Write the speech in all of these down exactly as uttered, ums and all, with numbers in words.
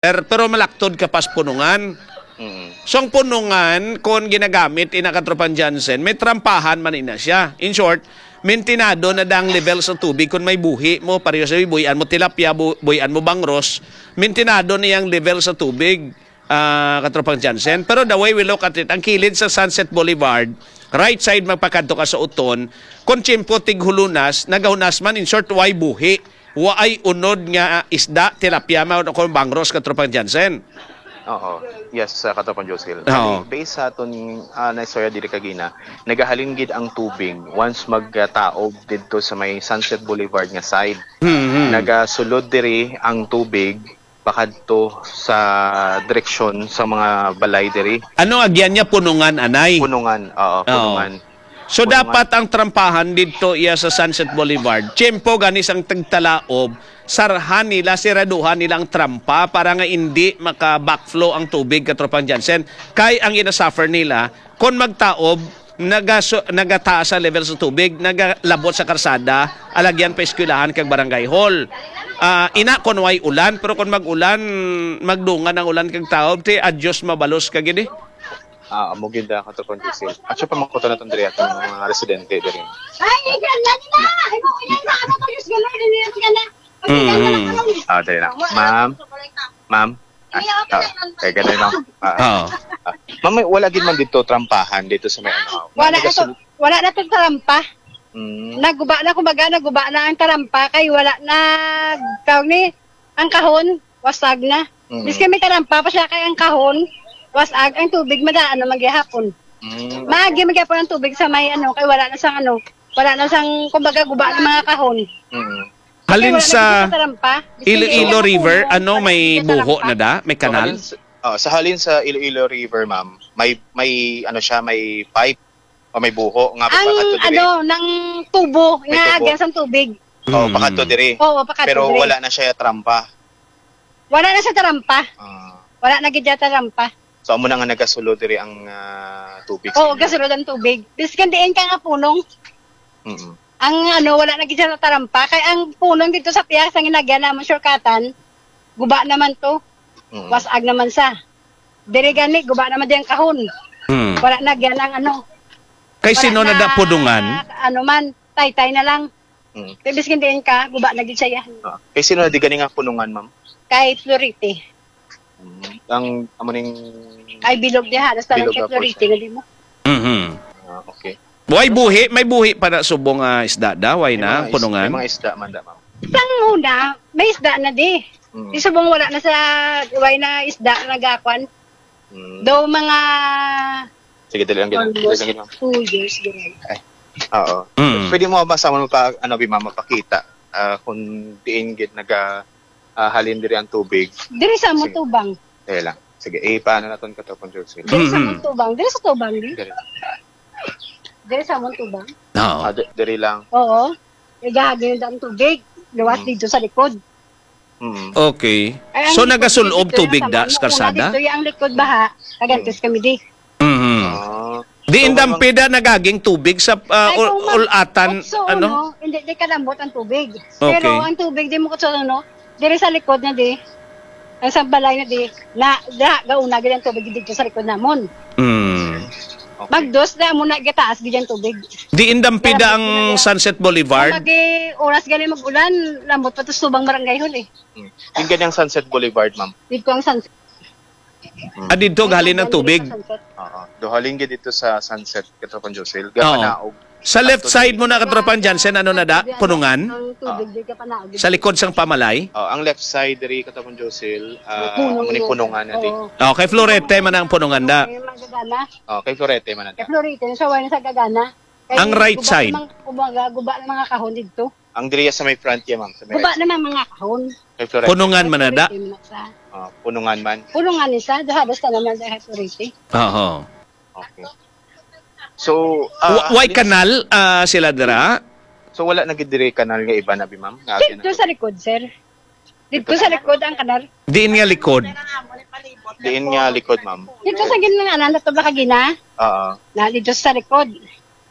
Pero malaktod ka pas punungan. Mm. So, ang punungan, kung ginagamit ina Katropang Jansen, may trampahan man ina siya. In short, mintinado na dang level sa tubig kung may buhi mo, pareho sa buhian mo tilapia, bu-, buhian mo bangros, mintinado na yung level sa tubig, ah, Katropang Jansen. Pero the way we look at it, ang kilid sa Sunset Boulevard, right side magpakadto ka sa uton, kung tiyempo tighulunas, nagahunas man, in short, way buhi. Waay unod nga isda, tilapia man o kung bangros, Katropang Jansen. Oo. Yes, uh, Katropang Josil. Oo. Bali, based sa aton, ah, na istorya diri kagina, nagahalin gid ang tubig once magtaob didto sa may Sunset Boulevard nga side. Mhm. Nagasulod diri ang tubig pakadto sa direksyon sa mga balay diri. Ano agyan niya punungan, anay? Punungan, oo, Oo. punungan. So Punungan. Dapat ang trampahan didto iya sa Sunset Boulevard. Tiyempo gani sang tagtalaob, sarhan nila, siraduhan nila ang trampa para nga hindi maka-backflow ang tubig, Katropang Jansen. Kay ang ina-suffer nila, kon magtaob, nagaso-, nagataas sa level sa tubig, nagalabot sa karsada, alagyan pa eskwelahan kag barangay hall. Ah, ina kon way ulan, pero kon mag-ulan, magdungan ang ulan kag taob, ti adyos mabalos ka gid eh. Ah, amo gid, ah, Katropang Josil. Actually, pamangkutan naton diri atong mga residente diri. Ay, ikaw na nila! Ay, mo, yan na! Ano ko, Diyos, gano'n, hindi yan ka na. Mm. Ah, dali lang. Ma'am, ma'am. Ah, ah, eh, ganun, ma'am. Ah, ah. Oo. Ah, ma'am, may, wala gid man dito trampahan dito sa may ano. Wala na to, Nagasul- wala na to trampa. Mm, Naguba na, kumbaga, naguba na ang tarampa kay wala na, tawag ni, ang kahon, wasag na. mm, Bis kami tarampa pa siya kay ang kahon, wasag, ang tubig, madaan na magyahapon. mm, Maagi magyapon ang tubig sa may ano, kay wala na sang ano, wala na sang, kumbaga, guba ng mga kahon. mm. Halin Wala na sa tarampa. Bis Iloilo kami River, tarampa, ano, may tarampa. buho na da? May So, kanal? halin sa, oh, sa halin sa Iloilo River, ma'am, may may ano siya, may pipe o may buho nga Ang pagpakadto diri. ano, ng tubo, May nga tubo. agyan sang tubig. Oh, Mm. Pakadto diri. Oo, pakadto Pero diri. Wala na siya trampa. Wala na sa tarampa. Ah. Wala na gid siya tarampa. So amo na nga nagasulo diri ang ah, tubig. Oo, gasulod ang tubig. Biskan diin ka nga punong. Mm-mm. Ang ano, wala na gid siya natarampa. Kay ang punong dito sa piyasa nga nagyan namon shortcutan, guba naman to. Mm. Wasag naman sa. Diri gani, guba naman di ang kahon. Hmm. Wala na gyan ang ano. Kay Wala sino na da punungan? Ano man, taytay na lang. Mm. Kay biskan diin ka, guba na gid siya. Ah. Eh, sino na di gani nga punungan, ma'am? Kay Florite. Mm. Ang amo ning Ay, bilog diha. Halos tanan Bilog kay na po Florite siya. na di mo. Mhm. Ah, okay. Way buhi, may buhi pa na subong nga isda da, way May na mga is- punungan. May mga isda man da, ma'am. Sang una, may isda na di. Mm. Di subong wala na sa, way na isda na nagakwan. Mm. Daw mga Sige, dali lang gina. Dali almost lang gina. Two years, ganyan. Oo. Mm. Pwede mo ba sa mo pa ano bi ma'am mapakita ah, kung diin gid naga ah, halin diri ang tubig. Diri sa among Sige. Tubang. Dali lang. Sige, eh, paano naton ka to, Control Cell? Diri sa Mhm. among Tubang. Diri sa Tubang, di? Dali. Diri sa among Tubang. Oo. Ah, di- diri lang. Oo. Igahagin ang tubig. Luwas Mm. dito sa likod. Mm. Okay. Ay, ang So likod nagasulob dito, tubig yung da tama, sa karsada? Una dito, yung ang likod baha. Kagantis kami di. Mhm. Ah. Di So, indampi da nagaging tubig sa uh, Ay, ul- kung mag- ulatan, Otso, ano? No? Hindi, di kalambot ang tubig. Okay. Pero ang tubig, di mo kutso, no? Diri sa likod na di. Ang sa balay na di. Na, da, gauna gid ang tubig dito sa likod namon. Mm. Okay. Magdos na mo na gataas gid ang tubig. Di indampi da ang Kalambot na Sunset Boulevard? Pag eh, oras gali mag-ulan, lambot pa to subang barangay hall eh. Yung ganyang Sunset Boulevard, ma'am. Dito ang sunset. Ah, dito galing ang tubig. Oo. Duhaling gid dito sa Sunset, Katropang Josel. Oo. Gapanaog. Sa left side mo na, Katropang Jansen, ano na da? Punungan? Ang tubig di ka panaog. Sa likod sang pamalay? Oh, ang left side diri, Katropang Josel, ah, Punong muni na. Punungan na di. Oo. Oh, kay Florete man ang punungan da. Kay Magagana. Oh, kay Florete man na. Kay Florete, sa way na sa Gagana. Kay Ang right guba side. Mang, kumbaga, guba ng mga kahon dito. Ang diri sa may front niya, ma'am, sa may Guba right. naman mga kahon. Kay Florete. Punungan man na da. Florete man sa. Oh, Punungan man. Punungan isa, halos na naman sa Florete. Oo. Okay. So, ah, Wa- Way halis- kanal ah, sila dira? So wala na gid diri kanal nga iba na bi, ma'am? Nga Dito sa likod, sir. Dito sa likod ang kanal. Diin nga likod? Diin nga likod, ma'am? Dito sa gina nga anan, nato ba kagina? Oo. Na dito sa likod.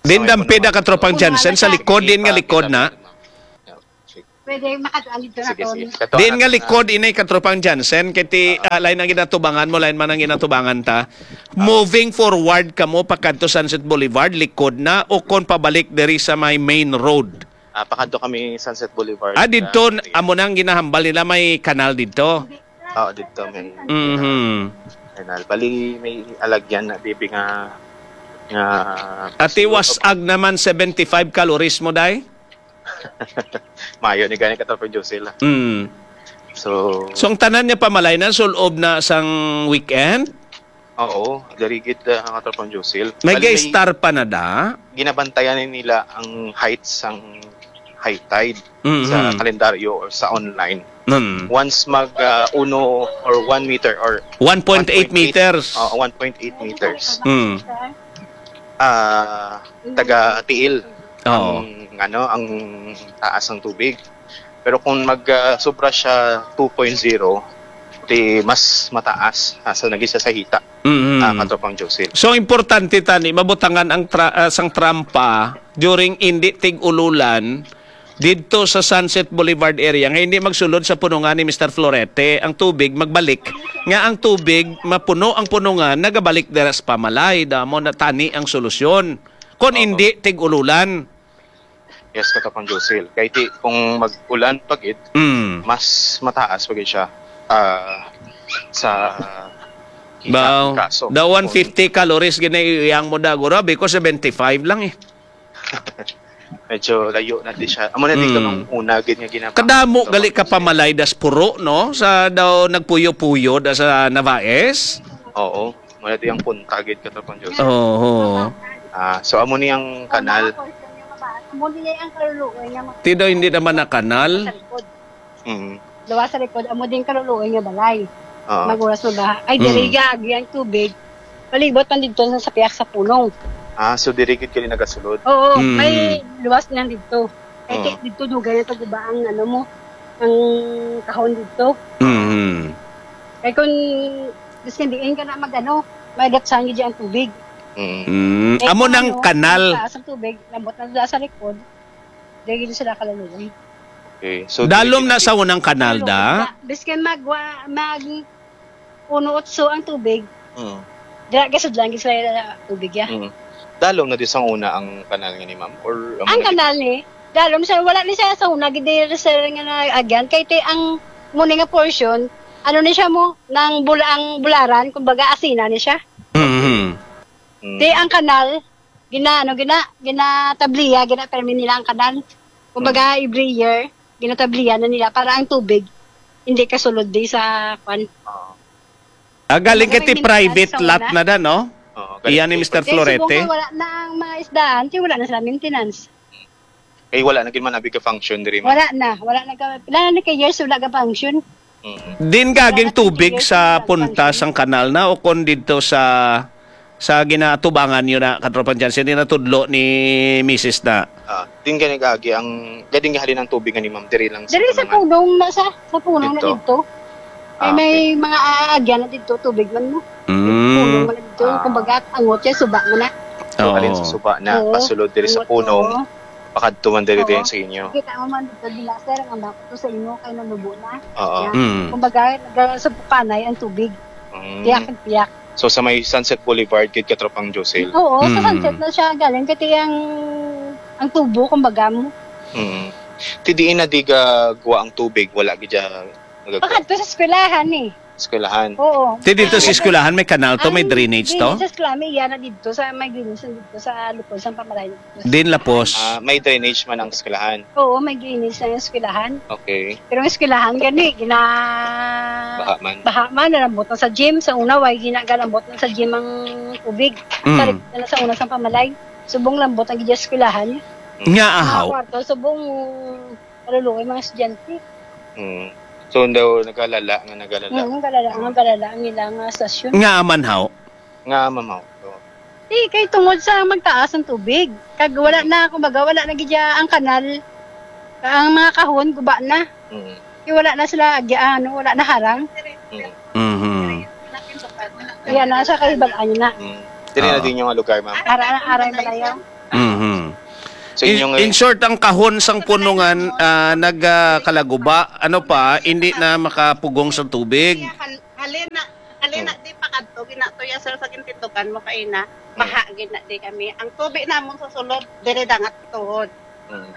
Diin dampi da, Katropang Jansen, sa likod, diin nga likod na? Pwede makadaan dito na. Sige, to. Sige. Kato Din nga anak na likod inay katropang Jansen, kay ti, Oo. ah, lain ang ginatubangan mo, lain man ang ginatubangan ta. Oo. Moving forward kamo pakadto Sunset Boulevard, likod na, o kon pabalik diri sa may main road? Ah, pakadto kami Sunset Boulevard. Ah, didto, Ah, amo nang ginahambal nila, may kanal didto. Oo, didto may Mhm. kanal. Bali, may alagyan na, bibi, nga, nga Ati, was-ag naman seventy-five calories mo, day? Mayo ni gani, Katropang Josil, ah. Mm. So, So, ang tanan niya pamalay na, sul-ob na sang weekend? Oo, diri gid, ah, Katropang Josil. May Bali, may star pa na da? Ginabantayan ni nila ang height sang high tide Mhm. sa kalendaryo or sa online. Mm. Once mag, ah, uno or one meter or One point eight one point eight, meters. Oo, one point eight meters. Mm. Ah, taga tiil Oo. ang, ano, ang taas ng tubig. Pero kung mag, ah, sobra siya two point zero, di mas mataas, ah, sa naging sa sahita, Mhm. ah, Katropang Josil. So, importante tani, mabutangan ang tra-, ah, sang trampa during hindi tig-ululan didto sa Sunset Boulevard area nga hindi magsulod sa punungan ni Mister Florete ang tubig, magbalik nga ang tubig mapuno ang punungan, nagabalik dira sa pamalay. Damo na tani ang solusyon. Kon Oo. hindi tig-ululan. Yes, Katropang Josil. Kay ti, kung mag-ulan pa gid, Mm. mas mataas pa gid siya, ah, sa Ba, kaso. The one fifty calories gina iyang mo da, guro, because seventy-five lang eh. Medyo layo na di siya. Amo na dito Mm. nung una gid nga ginapa-, Kadamo gali ka pamalay das puro, no? Sa daw nagpuyo-puyo da sa Navaes. Oo. Muna di ang punta gid, Katropang Josil. Oo. Ah, so amo ni ang kanal. Amo ni ang kaluluoy nga mga Ti daw hindi naman na kanal. Sa likod. Mm. Luwas sa likod, amo din kaluluoy nga balay. Oo. Maguras mo ba? Ay, Mm. diri agi ang tubig. Palibot man dito sa, sa piyak sa punong. Ah, so diri gid kini nagasulod? Oo, Mm. may luwas lang dito. Kay Oo. ti-, dito dugay na taguba ang ano mo, ang kahon dito. Mm. Kay kung biskan diin ka na mag-ano, may datsan gid ang tubig. Mm. Mm. Kay Amo kung nang ano, kanal. Taas ang tubig, lambot na sa, sa likod. Diri gid sila kaluluoy. Okay. So, Dalom dili na sa unang kanal, da? Biskan mag, wa-, mag uno otso ang tubig. Mm. Dira, gasod lang gid sila tubig, ya. Mm. Dalom na di sang una ang kanal nga ni ma'am? Or ang Ang nag- kanal ni, dalom siya, wala ni siya sa una, gid diri, sir, nga naagyan. Kay ti ang muni nga portion, ano ni siya mo, nang bula-, ang bularan, kumbaga, asina ni siya. Mhm. Mm. Ti ang kanal, gina, ano, gina, ginatabliya, gina-permi nila ang kanal. Kumbaga, Mm. every year, ginatabliya na nila para ang tubig hindi kasulod di sa, kwan. Oo. Ah, galing Kumbaga, ka ti may maintenance private sa lot una. na da, no? Oo, Iya ni galing Mister ti Kaya Florete. Subong nga wala na ang mga isdaan, ti wala na sila maintenance. Eh, wala na gid man abi ka function diri, ma'am. Wala na, wala na ka, wala na ka years, wala ka function. Mm. Din Wala gaging na tubig twenty years sa na punta function. sang kanal na o kon didto sa, sa ginatubangan nyo na, Katropang Jansen, din natudlo ni misis na? Ah, din gani gagi ang, gading halin ang tubig nga ni ma'am, diri lang sa Diri sa punungan. punong na sa, sa punong na Dito? dito. Ay, Ah, may okay. mga aagyan na dito, tubig man mo. Mm. Punong man na dito, Ah. kumbaga, angot siya, suba mo na. So, Oo. halin sa suba na, Oo. pasulod diri sa Angot, punong, oo. pakadto man diri Oo. din sa inyo. Kita mo man dito, di na, sir, ang bako to sa inyo, kay nanubo na. Oo. Yan. Mm. Kumbaga, naga-, sa panay ang tubig. Mm. Piyak, piyak. So, sa may Sunset Boulevard, gid, Katropang Josil? Oo, sa Mm. Sunset na siya galing. Kasi ang, ang tubo, kumbaga mo. Mm. Ti diin na di ga-, guwa ang tubig, wala gid siya nagagawa? Pakadto sa eskwelahan, eh. Eskwelahan? Oo. Ti dito sa Ay, eskwelahan, may kanal to, may ang drainage to? drainage sa eskwelahan, may iya na dito sa, may drainage na dito sa lupon sa pamaray. Din lapos. Ah, may drainage man ang eskwelahan? Oo, may drainage na yung eskwelahan. Okay. Pero ang eskwelahan gani, gina-, Baha man. baha man, nalambot na sa gym. Sa una, way ginagalambot na sa gym ang tubig. Mm. Tarik na sa una sa pamalay. Subong lambot ang gidya eskwelahan. Nga Mga ahaw. kwarto, subong kaluluoy mga estudyante. Mm. So, daw nagalala nga nagalala. Mm, galala, nga galala ang ilang, ah, stasyon. Nga aman haw. Nga mamaw. Oo. Di, kay tungod sa magtaas ang tubig. Kag wala Mm. na, kumbaga, wala na gid ang kanal. Ang mga kahon, guba na. Mm. Kay wala na sila, agi-, ano, wala na harang. Mm. Mhm. Yan na, sa kahibalaan na. Mm. Dili na Oo. din yung lugar, ma'am. Ara, ara, balayaw. Mhm. So, in, inyong in short, ang kahon sang punungan, ah, nagkalaguba, ano pa, hindi na makapugong sa tubig. Kaya hal-, halin na, halin na, hmm, di pa kadto, ginatuya, sir, sa gintindugan mo kaina, hmm, baha gid na di kami. Ang tubig namon sa sulod, dire dangat tuhod. Hmm.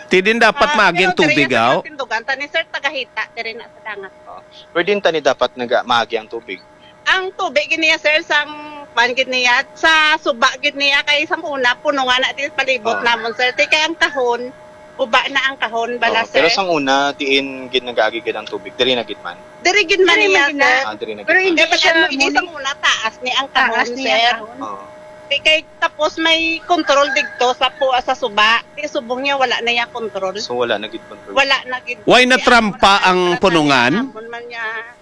Ti din dapat, ah, maagi ang pero tubig, diri sa aw? Tindugan, tani, sir, tagahita, dire na sa dangat. Oh. Pwede tani dapat nag-, maagi ang tubig? Ang tubig gid niya, sir, sang kwan gid niya, sa suba gid niya, kay sang una, punungan na din palibot, ah, namon, sir. Ti kay ang kahon, guba na ang kahon, bala, oh, sir. Pero sang una, diin gid nag-agi gid ang tubig? Diri na gid man? Diri gid man. Diri niya, man gid na, sir. Ah, diri na gid man. Pero hindi, kaya pa siya pag ano, mo sang una, taas ni ang kahon, taas niya, sir. Kahon. Oo. Di kay, tapos may control digto sa pu-, sa suba. Di subong niya, wala na iya control. So, wala na gid control. Wala na gid. Why na trampa ang punungan? Amon man niya.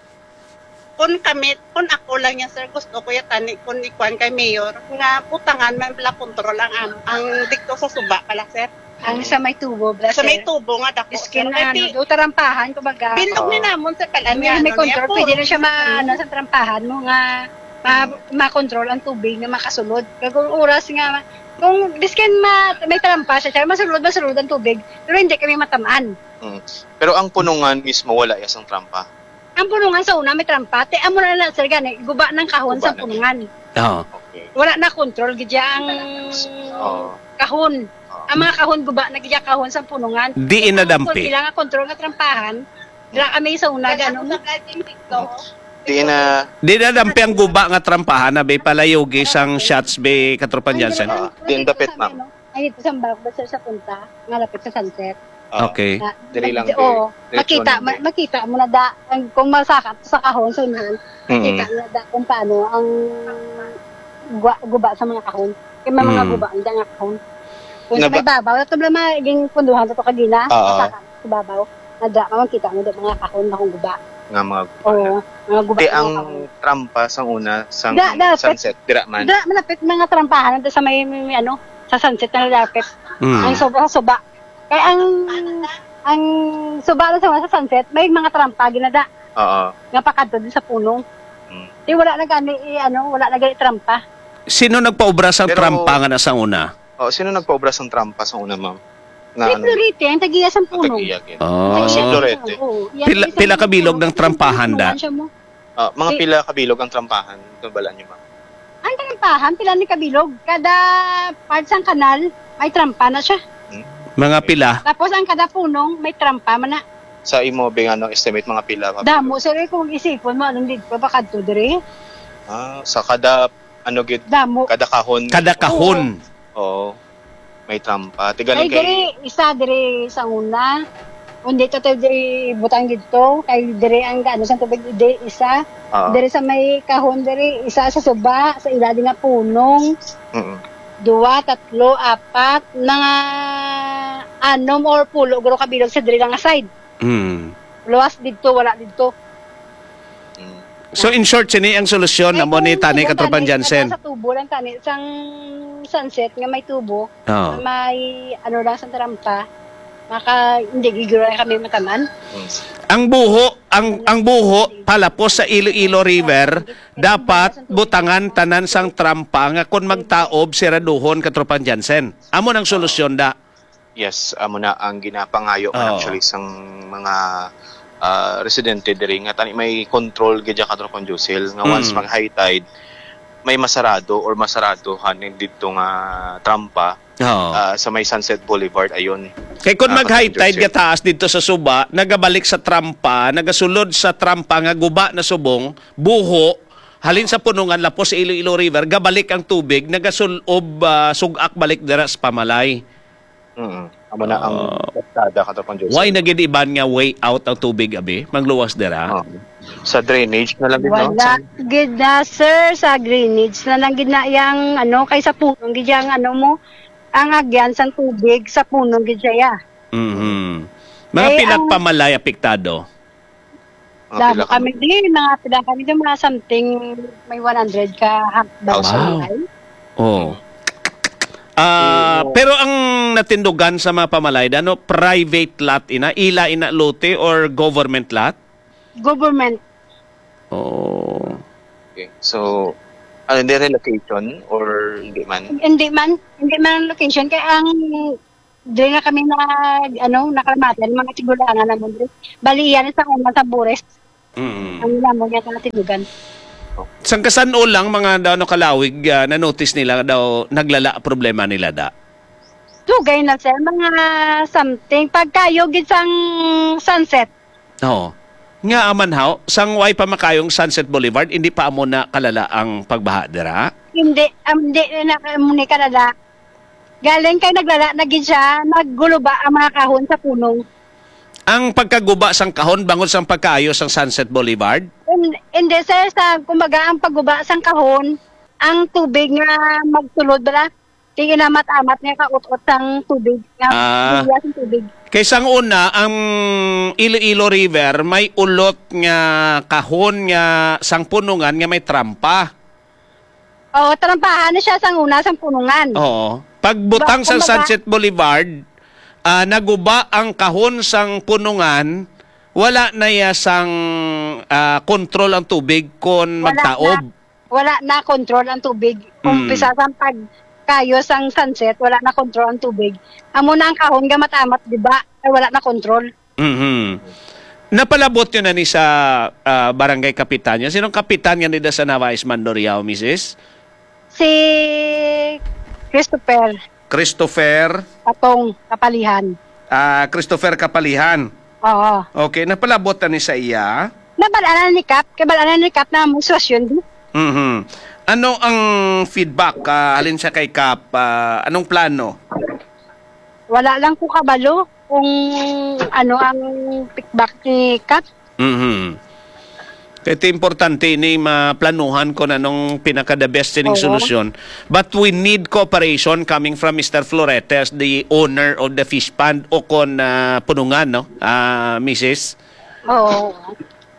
Kun kami, kun ako lang yan, sir, gusto ko ya tani, kun ikuan kay mayor, nga butangan man bala kontrol ang am-, ang dito sa suba pala, sir. Ang sa may tubo, bala, sir. Sa may tubo nga dako, sir. Iskin na, ano, do tarampahan, kumbaga. Bilog ni namon, sir, pala. May, ano, may kontrol, pwede na siya ma-, ano, sa trampahan mo nga ma-, makontrol ang tubig nga makasulod. Kag kung oras nga, kung biskin ma-, may trampa siya, siya, masulod, masulod ang tubig, pero hindi kami matamaan. Mm. Pero ang punungan mismo, wala ya sang trampa? Ang punungan sa una may trampa. Ti amo na lang, sir, gani, guba ng kahon sa punungan. Oo. Okay. Wala na control gid ya ang kahon. Oo. Ang mga kahon guba na gid ya kahon sa punungan. Di inadampi. Ang kon-, ilang nga control nga trampahan, dira kami sa una, gani, no? Di na. Di nadampi ang guba nga trampahan na be palayogi sang shots be, Katropang Jansen. Ah, di dapit, ma'am. Ay, dito sa Ambak, basta sa punta, nga lapit sa sunset. Ah, okay. Na, diri lang, oo, diri, diretso makita, lang, ma-, diri. Makita mo na da, ang, kung masakat sa kahon, sa unahan, mm, makita mo na da kung paano ang gwa-, guba sa mga kahon. Kaya may mga, mm, guba, ang da nga kahon. Kung sa may babaw, ito lang maging punduhan sa to kagina, oo, masakat sa babaw. Nadra ka, makita mo da mga kahon na kung guba. Nga mga guba. Oo, mga guba. Ti ang trampa sang una, sang sunset, dira man? Dira, malapit mga trampahan, nandun sa may, may, may ano, sa sunset na malapit. Mm. Ang suba, sa suba. Kaya ang, ang suba na sa, sa sunset, may mga trampa, ginada. Oo. Nga pakadto din sa punong. Mm. Di wala na gani, i-, ano, wala na gani trampa. Sino nagpaubra sang trampa nga nasa una? Oh, sino nagpaubra sang trampa sa una, ma'am? Na si Florete, ang tagiya sang punong. Tagiya, gid. Oh. Oh, si Florete. Oo, pila, pila ka bilog ng trampahan da? Ah, mga pila ka bilog ang trampahan? Ito, balaan niyo, ma'am. Ang trampahan, pila ni kabilog? Kada part sang kanal, may trampa na siya. Hmm. Mga pila? Tapos ang kada punong, may trampa man na. Sa imo, bing, ano, estimate, mga pila ka bilog? Damo, sir, eh, kung isipon mo, anong dito, baka to, dire? Ah, sa kada ano gid, damo. Kada kahon. Kada kahon. Oo. Oo. May trampa. Ti galing kay diri, isa diri sa una. Kundi to, to diri butang dito. Kay diri ang ano sa tubig, diri isa. Oo. Diri sa may kahon, diri isa sa suba, sa ilalim nga punong. Mm. Dua, tatlo, apat, mga anom or pulo, guro kabilog sa diri lang nga side. Mm. Luwas dito, wala dito. Mm. So, in short, sini ang solusyon na mo ni tani, Katropang Jansen? Sa tubo lang tani, sang sunset nga may tubo, may ano lang sa trampa, maka, hindi giguro na kami mataman. Mm. Ang buho, ang, ang buho, palapos sa Iloilo River, dapat butangan tanan sang trampa nga kon magtaob, siraduhon, Katropang Jansen. Amo nang solusyon da. Yes, amo na ang ginapangayo man, oo, actually, sang mga, ah, residente diri nga tani may control gid ya, Katropang Josel, nga once, mm, mag-high tide, may masarado or masaradohan dito nga trampa, oo, ah, sa may Sunset Boulevard, ayun. Kay kung, ah, mag-high tide, Katropang Josel, gataas dito sa suba, nagabalik sa trampa, nagasulod sa trampa nga guba na subong, buho, halin sa punungan lapos sa Iloilo River, gabalik ang tubig, nagasul-ob, ah, sug-ak balik dira sa pamalay. Mm. Amo na ang, ah, kalsada, Katropang Joseph. Why na gid iban nga way out ang tubig, abi? Magluwas dira? Oh. Sa drainage na lang gid, no? Wala gid na, sir. Sa drainage na lang gid na yang, ano, kay sa punong gid yang, ano mo, ang agyan sang tubig, sa punong gid siya, ya. Mhm. Mga pila ka pamalay apektado? Mga pila kami? Damo kami di, mga pila kami di, mga something, may one hundred ka ha-, barangay. Wow. Oh. Ah, pero ang natindugan sa mga pamalay, ano, private lot ina, ila ina lote or government lot? Government. Oh. Okay. So, Ano, hindi relocation or hindi man? Hindi man, hindi man ang location. Kaya ang, di na kami nag, ano, nakalamatan, mga tigulangan naman. Bali, yan sa una sa Bures. Mm. Ang lamang niya mga tinugan. Sang kasan-o lang mga daw, ano, kalawig, ah, na-notice nila daw naglala ang problema nila da? Dugay na, sir, mga something. Pagkayo gid sang sunset. Oo. Nga aman haw, sang way pa makayong Sunset Boulevard, hindi pa amo na kalala ang pagbaha dira? Hindi, um, hindi na kamo ni kalala. Galing kay naglala na gid siya, naggulo ba ang mga kahon sa punong. Ang pagkaguba sang kahon bangod sang pagkaayo sang Sunset Boulevard? Hin-, hindi, sir, sa, kumbaga, ang pagguba sang kahon, ang tubig nga magsulod bala, tinginamat-amat nga kaot-ot sang tubig, nga Ah. Buya sang tubig. Kay sang una, ang Iloilo River may ulot nga kahon nga sang punungan nga may trampa. Oo, trampahan na siya sang una, sang punungan. Oo. Pagbutang Ba-, sang kumbaga Sunset Boulevard, ah, naguba ang kahon sang punungan, wala na iya sang, ah, control ang tubig kon Wala magtaob. na. Wala na control ang tubig. Mm. Umpisa sang pagkayo sang sunset, wala na control ang tubig. Amo na ang kahon nga matamat, di ba? Ay, wala na control. Mhm. Napalabot nyo na ni sa, ah, barangay kapitan nyo? Sinong kapitan nga nila sa Nava Isman Doriao, misis? Si Christopher. Christopher? Atong Kapalihan. Ah, Christopher Kapalihan. Oo. Okay, napalabot na ni sa iya? Nabal-anan ni Kap, kay bal-anan ni Kap na mo sitwasyon di. Mhm. Ano ang feedback, ah, halin sa kay Kap? Ah, anong plano? Wala lang ko kabalo kung ano ang feedback ni Kap. Mhm. Kaya ito importante ini maplanuhan kung anong pinaka the best ining Oo. solusyon. But we need cooperation coming from Mister Floretes, the owner of the fish pond, o kon, ah, punungan, no? Ah, misis? Oo.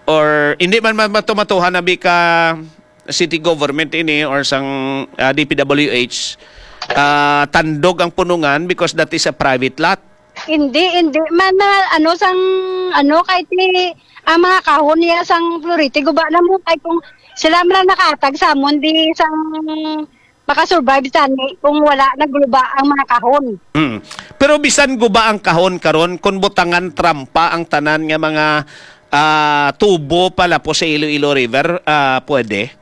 Or hindi man ma-, matumatuhan na bi ka city government ini or sang, ah, D P W H, ah, tandog ang punungan because that is a private lot. Hindi, hindi man na, ano, sang, ano, kay ti, ang mga kahon niya sang Florete, guba na mo, kay kung sila man ang nakaatag sa amon, di sang makasurvive sa ni, kung wala nagluba ang mga kahon. Mm. Pero bisan guba ang kahon karon, kung butangan trampa ang tanan nga mga, ah, tubo palapos sa Iloilo River, ah, pwede?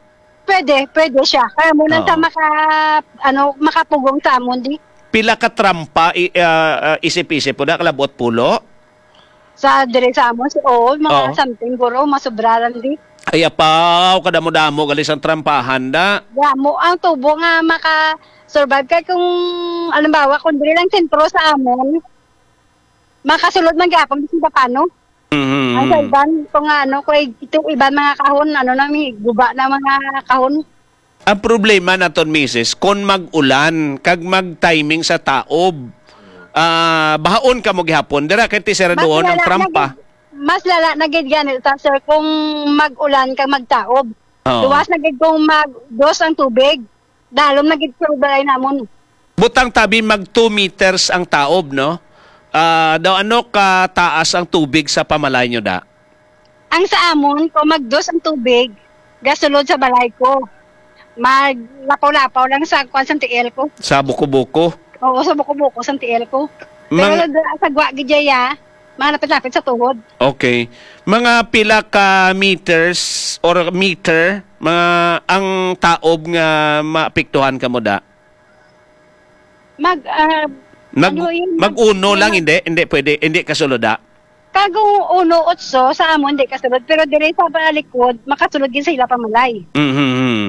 Pwede, pwede siya. Kaya muna Oo. sa maka-, ano, makapugong sa amon, di. Pila ka trampa i-, ah, ah, isip-isip po na, kalabot pulo? Sa dire sa amon, si, oo, mga Oo. something, guro, masubra lang, di. Ay, apaw, kadamo-damo, gali sang trampahan, da. Damo ang tubo nga maka-survive. Kaya kung, halimbawa, kung dire lang sentro sa amon, makasulod man gyapon, di sila paano? Mhm. Ang sa iban, kung ano, kung ito, iban mga kahon, ano na, may guba na mga kahon. Ang problema naton, misis, kon mag-ulan kag mag-timing sa taob, ah, bahaon ka mo gihapon. Dira kay ti Mas seradoon ang lala na trampa. gid, mas lala na gid gani ta, sir, kung mag-ulan kag magtaob. Oo. Luwas na gid kung mag-dos ang tubig. Dalom na gid sa balay namon. Butang tabi mag two meters ang taob, no? Ah, daw ano ka taas ang tubig sa pamalay nyo, da? Ang sa amon, kung magdos ang tubig, gasulod sa balay ko. Maglapaw-lapaw lang sa kwan sa tiil ko. Sa buko-buko? Oo, sa buko-buko sa tiil ko. Pero Mang- da-, sa gwa gid ya, mga lapit-lapit sa tuhod. Okay. Mga pila ka meters or meter, mga ang taob nga maapektuhan kamo da? Mag, ah, Nag-, ano yun? mag-uno Mag-, lang, mag- hindi? Hindi pwede, hindi kasulod, ah? Kag uno otso sa amon, di kasulod. Pero diri sa palikod, makasulod gid sa ila pamalay. Mhm, mhm.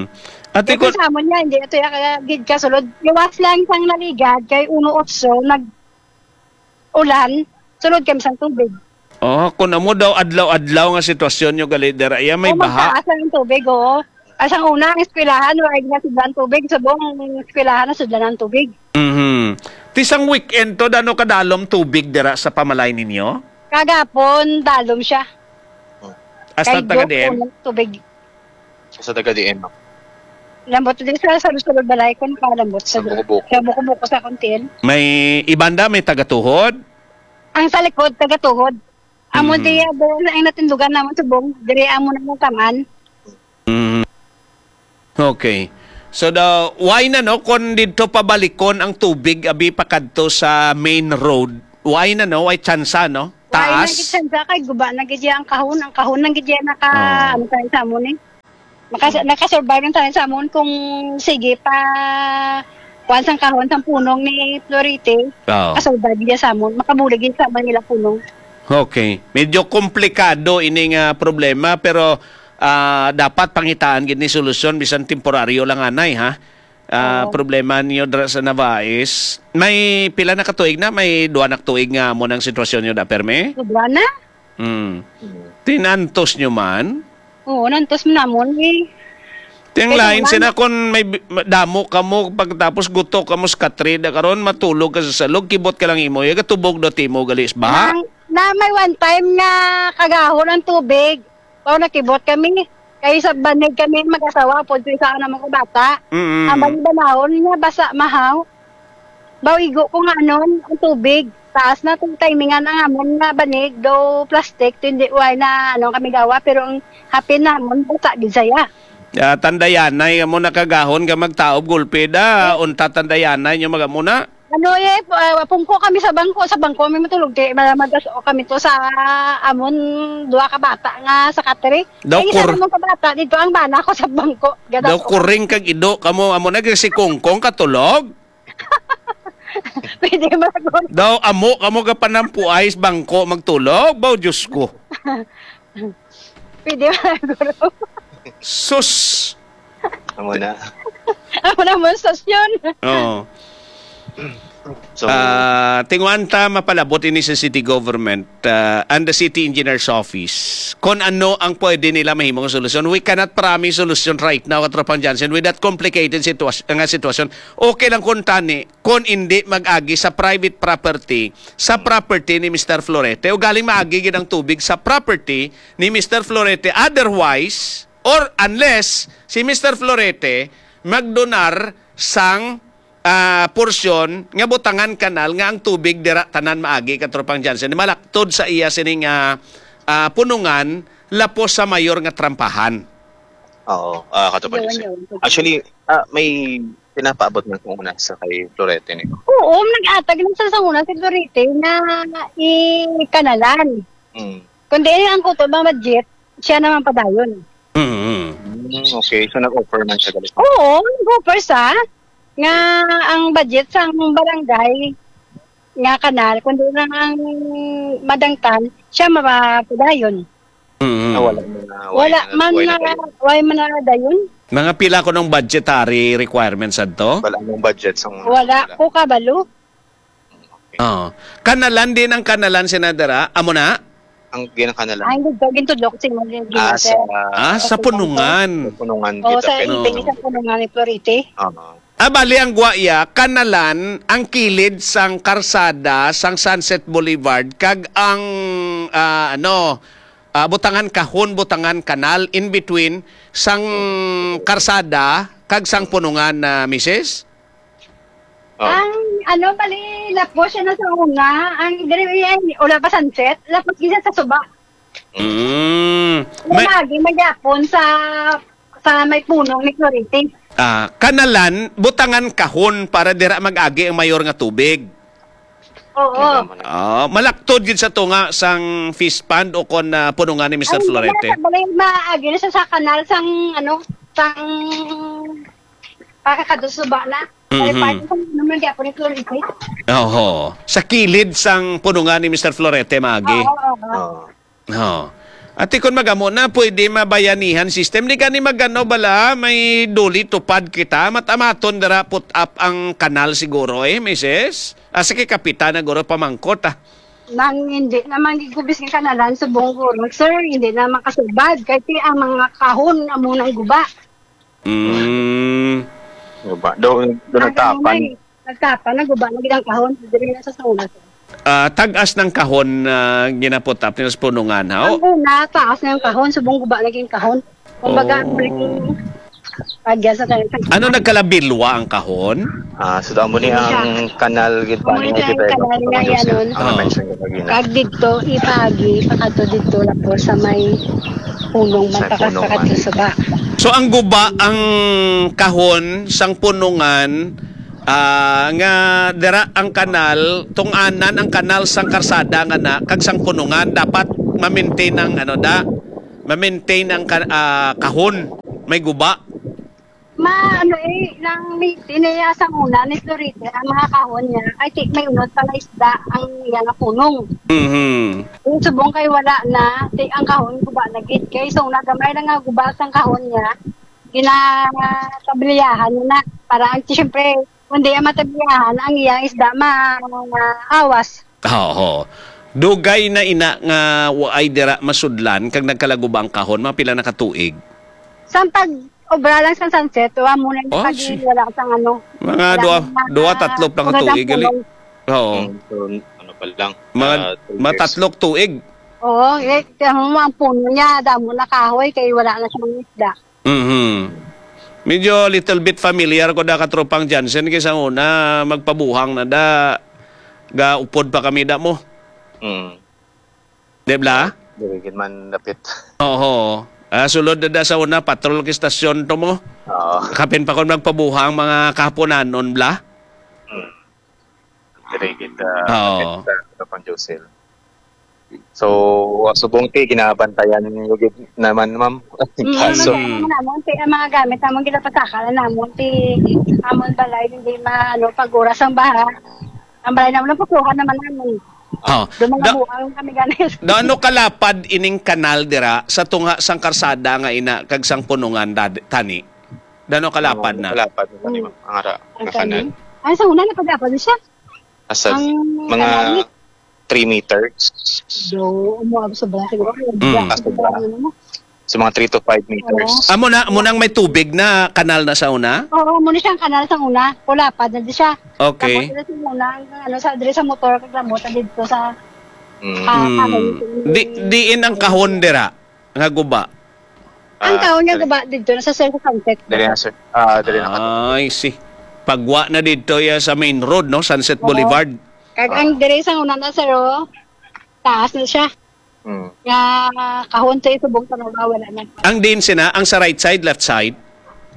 Ate Kaya ko sa amon niya, hindi ito ya kaya gid kasulod. Iwas lang sang naligad, kay uno otso, nag-ulan, sulod kami sang tubig. Oh, kung amo daw adlaw-adlaw nga sitwasyon nyo gali dira, iya may Oh, baha. magtaas lang ang tubig, oo. Asang una, ang eskwelahan, wala na sudlan tubig. Subong ang eskwelahan na sudlan ang tubig. Mhm. Ti sang weekend to, dano kadalom tubig dira sa pamalay ninyo? Kagapon, dalom siya. Hasta Kay taga Joke, D M? unang tubig. Sa taga D M. Lambot din sa, sa sulod balay ko, nakalambot sa Sa buko-buko. Sa buko-buko sa kuntil. May ibanda, may tagatuhod? Ang sa likod, tagatuhod. Amo Mhm. diya, doon ang natindugan naman subong. Diri amo na yung taman. Mm. Okay. So, the, why na, no, kung dito pabalikon ang tubig, abi, pakadto sa main road? Why na, no? Why tsansa, no? Why na Taas? gid tsansa kay guba na gid ang kahon. Ang kahon lang gid yan naka, Oh. ano tayo sa amon eh. Maka, nakasurvive lang tayo sa amon kung sige pa kuan sang kahon sang punong ni Florite. Oh. Kasurvive gid sa amon. Makabulig gid sa amon nila punong. Okay. Medyo komplikado ini nga problema, pero, ah, dapat pangitaan gid ni solusyon bisan temporaryo lang anay, ha? Ah, Oo. Problema niyo dira sa Navais. May pila na ka tuig na? May duha na ka tuig nga mo nang sitwasyon niyo da, permi? Sobra na. Hmm. Tinantos niyo man? Oo, nantos man namon eh. Ting Kaya lain lang. Sina kon may bi-, ma-, damo ka mo, pagkatapos guto ka mo sa katrida karon, matulog ka sa salog, kibot ka lang imo, ya gatubog do timo gali sa baha. Nang, na may one time nga kagahon ang tubig. Pao nakibot kami. Kay sa banig kami mag-asawa, pod sa isa na mga bata. Mm. Ang balibanahon nga basa mahaw. Bawigo ko nga anon, ang tubig. Taas na itong timingan ang amon nga banig, do plastic, hindi way na ano kami gawa, pero ang hapin namon, basa gid saya. Ah, tandayanay mo nakagahon ka magtaob gulpi da, unta tandayanay nyo magamuna? Ano eh, pu-, ah, pungko kami sa bangko, sa bangko kami matulog, kay ma-, magaso kami to sa amon duha ka bata nga sa katri. Daw Ay, isa kur- namon ka bata, dito ang bana ko sa bangko. Daw Gadaso kami. Kuring kag ido kamo, amo na si Kongkong katulog. Pwede ba, Guro? Daw amo kamo ka panampuay sa bangko magtulog, baw Diyos ko. Pwede ba, Guro? Sus! Amo na. Amo na mo, sus yun. Oo. So, Ah, tinguan ta mapalabot ini sa city government, ah, and the city engineer's office. Kung ano ang pwede nila mahimong solusyon. We cannot promise solution right now, Katropang Johnson, with that complicated sitwas-, nga sitwasyon. Okay lang kung tani, kung hindi mag-agi sa private property, sa property ni Mister Florete, o galing maagi gid ang tubig sa property ni Mister Florete. Otherwise, or unless si Mister Florete magdonar sang, ah, porsyon nga butangan kanal nga ang tubig dira tanan maagi, Katropang Johnson, malaktod sa iya sining, ah, ah, punungan lapos sa mayor nga trampahan. Oo, ah, Katropang Yun, Johnson. Yun. Actually, ah, may pinapaabot man kung una sa kay Florete ni. Oo, nag-atag lang sa, sa una si Florete na i-kanalan. Mm. Kundi ang kuto ba budget, siya naman padayon. Mm. Mm, okay, so nag-offer man siya gali. Oo, nag-offer sa nga ang budget sa among barangay nga kanal, kundi lang ang madangtan, siya mapadayon. Mm. Ah, wala man na, wala Wala na, man wala na na, kayo. Wala man na dayon. Mga pila ko ng budgetary requirements adto? Wala mong budget sa mga Wala wala. Ko kabalo. Okay. Oo. Kanalan din ang kanalan, Senadora. Amo na? Ang ginakanalan. Ay, hindi. Gintudlo ko sa inyo, Ah, sa, sa Ah, sa punungan. Sa punungan Oo, kita, sa pero ibig Oo. Sa punungan ni Florite. Oo. Ah, bali ang guwaya, kanalan ang kilid sang karsada sang Sunset Boulevard kag ang, ah, ano, ah, butangan kahon, butangan kanal in between sang karsada kag sang punungan na, misis? Oh. Ang, ano, bali, lapos siya na sa una. Ang diri, ay, wala pa sunset. Lapos gisa sa suba. Mm. May May lagi magyapon sa, sa may punong ni Florete. Ah, kanalan, butangan kahon para dira mag-agi ang mayor nga tubig. Oo. Ano naman na? Ah, malaktod gid sa tunga sang fish pond o kon, ah, punungan ni Mister Ay, Florete. Hindi na, bali, maagi na siya sa kanal sang, ano, sang pakakadusuba na. Kay Mhm. Parte sa naman di ako ni Florete. Oho. Sa kilid sang punungan ni Mister Florete, maagi. Oo, oo. Oo. Oh. Ati, kun magamo na, pwede mabayanihan system. Di gani magano bala, may duli tupad kita. Matamaton dira put up ang kanal siguro eh, misis. Asa kay kapitan na guro pamangkot, ah. Nang hindi naman gigubis ng kanalan sa Bonggoro, sir, hindi naman kasubad. Kay ti ang mga kahon amo nang guba. Mm. Diba? Doon, doon Ang nagtapan. Ano na eh, nagtapan, naguba na gid ang kahon, diri na sa sauna, sir. Ah, tag-as ng kahon, ah, ginaputap nila sa punungan, ha? Ang una, taas na yung kahon, subong guba na yung kahon. Kumbaga, Oh. Ang naging agya sa tayo. Ano, nagkalabilwa ang kahon? Ah, so, amo ni Hindi siya. Ang kanal gid pa Amo ni ni ang Jose kanal nga Mendoza. Yan, nun. Ang Oh. mention ko kanina. Kag dito, ipagi, pakato dito, lapos sa may punong Sa man, pakas-, punong man. Pakato sa ba. So, ang guba, ang kahon sang punungan, ah, nga dira ang kanal, tungtungnan ang kanal sang karsada nga na, kag sang punungan, dapat ma-maintain ang, ano, da, ma-maintain ang ka-, ah, kahon. May guba. Ma, ano eh, lang meeting eh, sa una ni Florite, ang mga kahon niya, ay, ti, may unod pala isda ang iya nga punong. Mhm. Yung subong kay wala na, ti, ang kahon guba na gid. Kay sa una, gamay lang nga guba sang kahon niya, ginatabliyahan niya na. Para, ang, siyempre, kung di ang matabliyahan, ang iyang isda ma, maawas. Oo. Dugay na ina nga waay dira masudlan kag nagkalaguba ang kahon, mga pila na ka tuig? Sa pag-obra lang sa sunset, wa mo na Oh, pag si- wala sang ano. Mga Wala duha, na duha, tatlo pa ka wala tuig, gali. Pulong. Oo. Mm, so, ano pa lang, Mga, ah, two mga years. Tatlong tuig. Oo, eh, kaya mo ang puno niya, damo na kahoy, kay wala na siyang isda. Mhm. Medyo little bit familiar ko da katropang Jansen, kay sa una, magpabuhang na da, gaupod pa kami da mo. Mm. Di bla? Dili gid man dapit. Oho. Ah, sulod na da sa una, patrol kay stasyon to mo. Oo. Kapin pa kon magpabuhang mga kahaponanon bla. Mm. Dili gid, ah, Oo. Dapit sa Kapang Josel. So, subong ti, ginabantayan niyo gid naman, ma'am. Mm, Kaso, ano naman, ti, ang mga gamit namon, ginapasaka na namon, ti, amon balay, hindi ma, ano, pag oras ang baha. Ang balay namon, napukuhan naman namon. Oh, Doon mga da-, buang kami ganit. Daano kalapad ining kanal dira sa tunga sang karsada nga ina kag sang punungan dad-, tani? Daano kalapad na? Kalapad na ni, ma'am, ang ara-, Ang nga kanal. Kanal? Ay, sa una, napag-apad siya. Asa? Ang mga kanal ni three meters. Do, umuabot sobra siguro. Mm. Ah, sobra. Ano mo? Sa mga three to five meters. Oo. Amo na, amo nang may tubig na kanal na sa una? Oo, amo na siyang kanal sa una. Kulapad na di siya. Okay. Tapos dito sa una, ang ano, sa, diri sa motor, kag lamot, dito sa, Mm. ah, Mm. Di, diin ang kahon dira nga guba? Ang Ah, kahon nga diri. Guba dito, nasa Sir sa Sunset. Diri na, sir. Ah, diri na. I see. Pagwa na dito ya sa main road, no? Sunset Oo. Boulevard. Kag ang diri sa una na, sir, oh, taas na siya. Mm. Nga kahon sa subong sa baba, wala na. Ang din sina, ang sa right side, left side?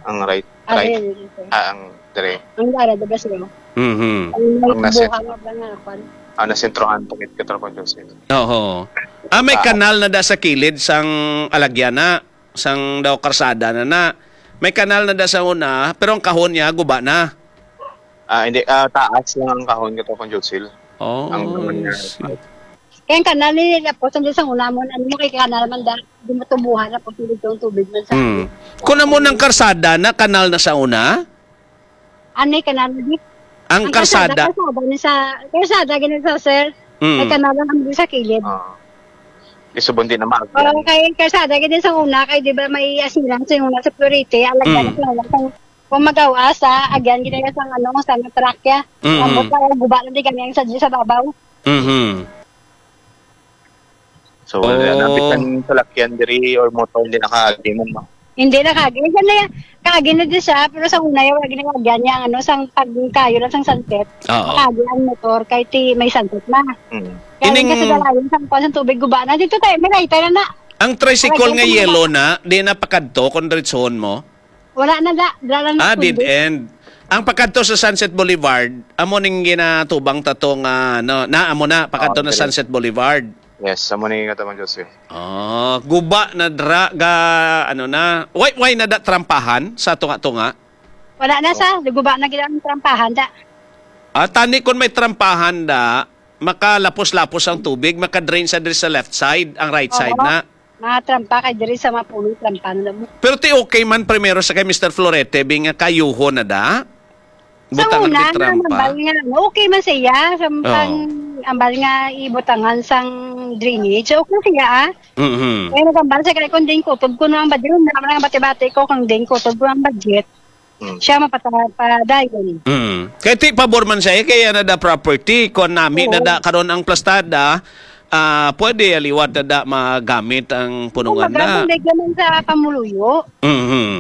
Ang right, Ah, right. Diri, diri, sir. Ah, ang diri. Ang dara, diba, sir? Mhm. Ang may Ang nasa buhang nga ba nga, kwan? Ah, nasentrohan po kit Katropang Joseph. Oo. Ah, may Ah. kanal na da sa kilid sang alagyana, sang daw karsada na na. May kanal na da sa una, pero ang kahon niya guba na. Ah, hindi. Ah, taas lang ang kahon, Katropang Joseph. Oh, Ang naman I niya. see. Kaya ang kanal ni Lapos, ang sa una mo, ano mo kay kanal man da, di mo tubuhan, Lapos, hindi itong tubig man sa Mm. amin. Kung amo nang karsada na, kanal na sa una? Ano yung kanal na di? Ang Ang karsada, karsada. Karsada ni sa, karsada, ganun sa, sir. Mm. May kanal lang kami sa kilid. Ah. Isubon din naman. Oo, kay karsada, ganun sa una, kay di ba may asilan sa una sa Purite, alaga Mm. na sa una, sa, kung magawa sa, agyan, ginaya sa, ano, sa trakya. Mm. Ambot na, guba na di kami ang sa, sa babaw. Mhm. So, wala na. Oh. Bisan salakyan diri or motor, hindi nakaagi man, no? Hindi nakaagi. Yan na yan. Kaagi na di siya, pero sa una, yung wala ginagawa niya, ano, sang pagkayo lang sang sunset. Oo. Kaagi ang motor, kahit ti may sunset na. Mm. Kaya Ining lang kasi dalayan sa kuwan sa tubig, guba na. Dito tayo, may lighter na na. Ang tricycle Wala nga na yellow na. Na, di na pakadto kung diretsohon mo? Wala na, da. Wala na Ah, dead kundi. End. Ang pakadto sa Sunset Boulevard, amo ning ginatubang ta to nga, no, na, amo na, pakadto Ah, na okay. Sunset Boulevard. Yes, amo ni nga tamang Jose. Ah, guba na dra, ga, ano na. Why, why na da trampahan sa tunga-tunga? Wala na sa, guba na gid ang trampahan, da. Ah, tani kung may trampahan, da, makalapos-lapos ang tubig, makadrain sa diri sa left side, ang right side Oo. Na. Mga trampa kay diri sa mga puno, trampa na mo. Pero ti okay man primero sa kay Mister Florete, bi nga kayuho na da? Sa Butangan una, di trampa? Nambal nga, okay man siya. Sa Oo. Pang, ambal nga ibutangan sang drainage. Okay siya, ah. Mhm. Kaya nagambal siya kay kung din kutob ko na ang badyo, naman ang bati-bati ko, kung din kutob ko ang budget. Mm. Siya mapata-, padayon. Mm. Kay ti pabor man siya, eh, kaya na da property, kung nami Oo. Na da karon ang plastada, ah, pwede aliwat na da magamit ang punungan Kung na. Magandang naman sa pamuluyo. Mhm.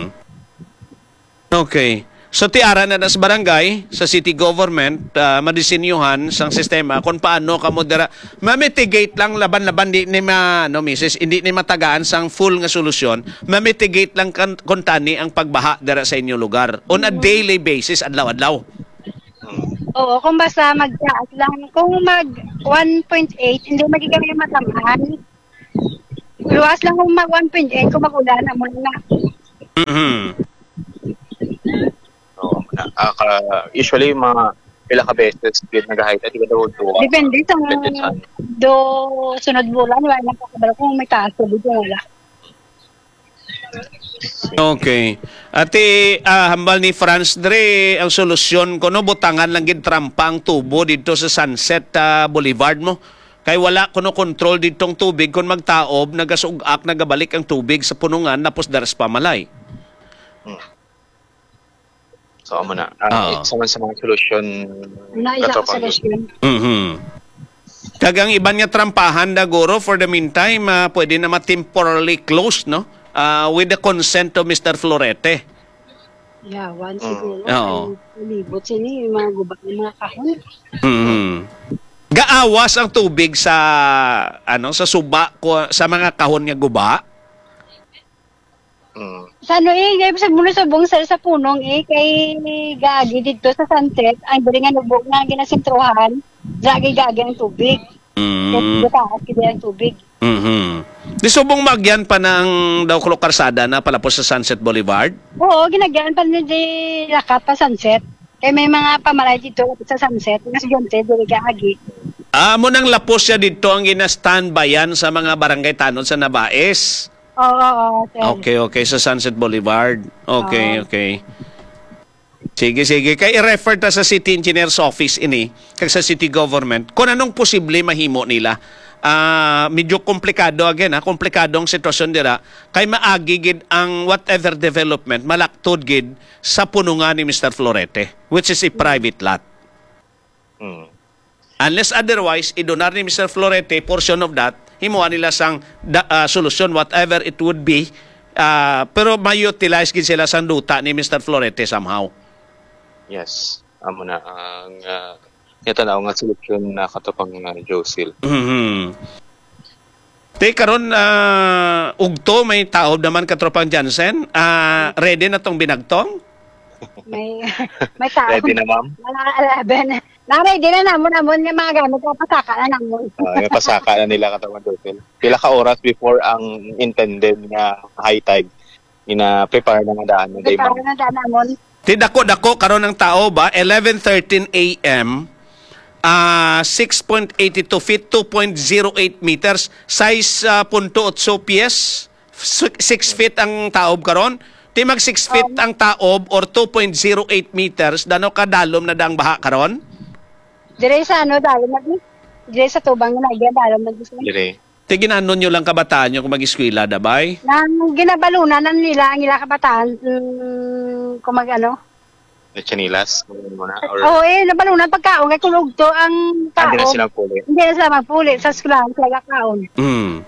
Okay. So, ti ara na na sa barangay, sa city government, ah, madisenyuhan sang sistema kung paano kamo dira ma-mitigate lang laban-laban di ni ma-, no, misis, hindi ni matagaan sang full nga solusyon, ma-mitigate lang kan-, kung tani ang pagbaha dira sa inyo lugar on a daily basis, adlaw-adlaw. Oo, kung basta magtaas lang, kung mag one point eight, hindi magiging matamaan. Luwas lang kung mag one point eight, kung mag-ulan, amo na. Mhm. Oo, na, ah, ka, usually, mga pila ka beses gid nag-high tide, di ba, daw duha? Depende sa Depende sa do sunod bulan, wala lang kakabalo kung may taas o dito wala. Okay. Ati, ah, hambal ni Franz Dre, ang solusyon kuno butangan lang gid trampa ang tubo dito sa Sunset ah, Boulevard mo. Kay wala kuno control didtong tubig kung magtaob, nagasug-ak, nagabalik ang tubig sa punungan napos dara sa pamalay. So, amo na. Ah, Ah. Isa man sa mga solusyon, Una, isa ka katapang solusyon. Mhm. Kag ang iban nga trampahan na guro, for the meantime, ah, pwede na ma-temporarily closed, no? Ah, with the consent of Mister Florete. Yawan Mm. siguro. Oo. Ang palibot sini, yung mga guba, yung mga kahon. Mhm. Gaawas ang tubig sa ano sa suba ko sa mga kahon nga guba. Mm. Sa ano eh, kaya sa muna sa bungsa sa punong eh, kay gagi dito sa Sunset, ang diri nga nubog nga ginasentruhan, gagi gagi ang tubig. Kaya Mm. gataas gid ang tubig. Mhm. Di subong magyan pa ng daw karsada na palapos sa Sunset Boulevard? Oo, ginagyan pa ni di lakat pa Sunset. Kaya may mga pamalay dito sa Sunset, nga estudyante, diri gagi. Ah, mo nang lapos siya dito ang gina-standbyan sa mga barangay tanod sa Nabais. Oo, oo, sir. Okay, okay. Sa Sunset Boulevard. Okay, Oo. okay. Sige, sige. Kay i-refer ta sa City Engineer's Office ini, kag sa City Government, kung anong posible mahimo nila. Ah, medyo komplikado again, ha? Komplikado ang sitwasyon dira. Kay maagi gid ang whatever development, malaktod gid sa punungan ni Mister Florete, which is a private lot. Mm. Unless otherwise, idonar ni Mister Florete portion of that, himuha nila sang da, ah, solusyon, whatever it would be, ah, pero ma-utilize gid sila sang duta ni Mister Florete somehow. Yes. Amo na ang uh, nga tanaw nga solusyon na katapang na Josil. Mhm. Te, karon, ah, ugto may taob naman, katropang Jansen. Ah, ready na tong binagtong? May, may tao. Ready na, ma'am? Mga eleven. Na-ready na namon, namon nga mga gamit, pasaka na namon. Uh, napasaka na nila katapang Josil. Pila ka oras before ang intended nga high tide? Gina-prepare na nga daan na day, Prepare ma'am. na daan namon. Ti dako-dako karon ang taob ba, eleven thirteen A M, ah, six point eight two feet, two point zero eight meters, sais punto otso pies, si-, six feet ang taob karon. Ti mag six feet ang taob or two point zero eight meters, dano ka dalom na dang baha karon? Dire sa ano, dalom na di. Dire sa tubang na, dire dalom na di. Dire. Ti ginanon nyo lang kabataan nyo kung mag-eskwela, dabay? Nang ginabalunan na nila ang ila kabataan, mm, kung mag ano. Lechonilas, ano mo na? Or Oo, eh, nabalunan pagkaon, kay kung ugto ang hindi na taob, sila puli. hindi na sila magpuli sa eskwelahan, sila kaon. Hmm.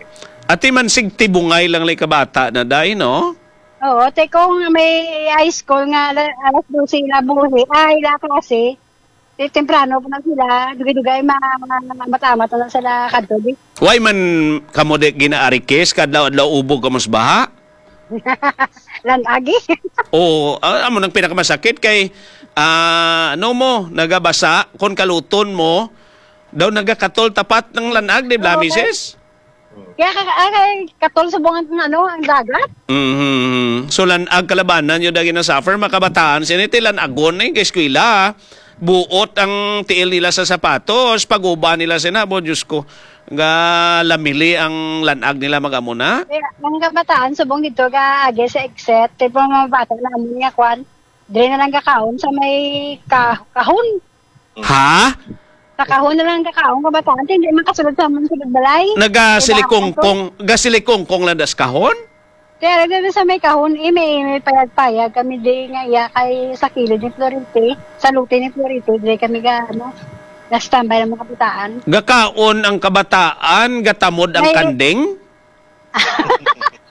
Ati man sig tibungay lang lay kabata na day, no? Oo, te kung may high school nga ala- alas dose na buhi, ay, la klase, te temprano pa na sila, dugay-dugay ma matamat na sila kadto, di. Why man kamo di ginaarikis, kadlaw-adlaw ubog kamo sa baha? Lanagi. Oo, ah, amo nang pinakamasakit kay, ah, ano mo, nagabasa, kon kaluton mo, daw nagakatol tapat ng lanag, di ba, Oo, misis? Kaya ka, ah, kay katol sa bunga ng ano, ang dagat. Mhm. So, lanag kalabanan nyo dagi na suffer, makabataan, siniti lanagon na yung eskwela. Buot ang tiil nila sa sapatos, paguba nila sina, bo, Diyos ko, ga lamili ang lanag nila magamuna. Kaya ang kabataan, subong dito, ga agi sa exit, tipo mga bata na amin nga kwan, dire na lang gakaon sa may ka kahon. Ha? Sa kahon na lang gakaon, kabataan, hindi man kasulod sa amon sulod balay. Nagasilikongkong, gasilikongkong lang das kahon? Kaya lagi sa may kahon, eh, may, may payag-payag kami di nga iya kay sa kilid ni Florite, sa luti ni Florite, di kami ga, ano, na-standby ng mga kabataan. Gakaon ang kabataan, gatamod ang May- kanding?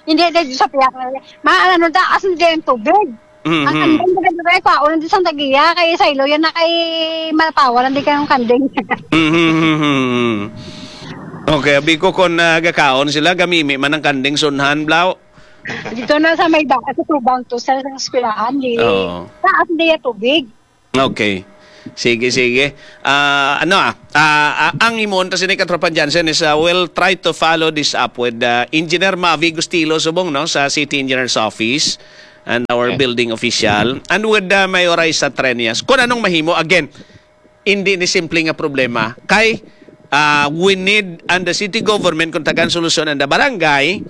Hindi, hindi, sa piyak na. Mga ano, taas na din ang tubig. Mhm. Ang kanding, taga dugay, kwaon, di sang tagiya, kay sa ilo yan na kay Malapawan, hindi kayong kanding. Mhm, mhm, mhm. Okay, abi ko kung, ah, gakaon sila, gamimi man ang kanding sunhan, blaw. Dito na sa may daan, sa tubang to, sa, sa eskwelahan, di. Oo. Taas, di ya tubig. Okay. Sige, sige. Ah, ano, ah, ah, ah, ang imon ta sini, Katropang Jansen, is, ah, we'll try to follow this up with, ah, Engineer Mavi Gustilo subong, no, sa City Engineer's Office and our Yes. building official and with, ah, Mayor Raisa Treñas. Kung anong mahimo, again, hindi ni simple nga problema. Kay, ah, we need, and the city government, kung tagaan solusyon ang the barangay,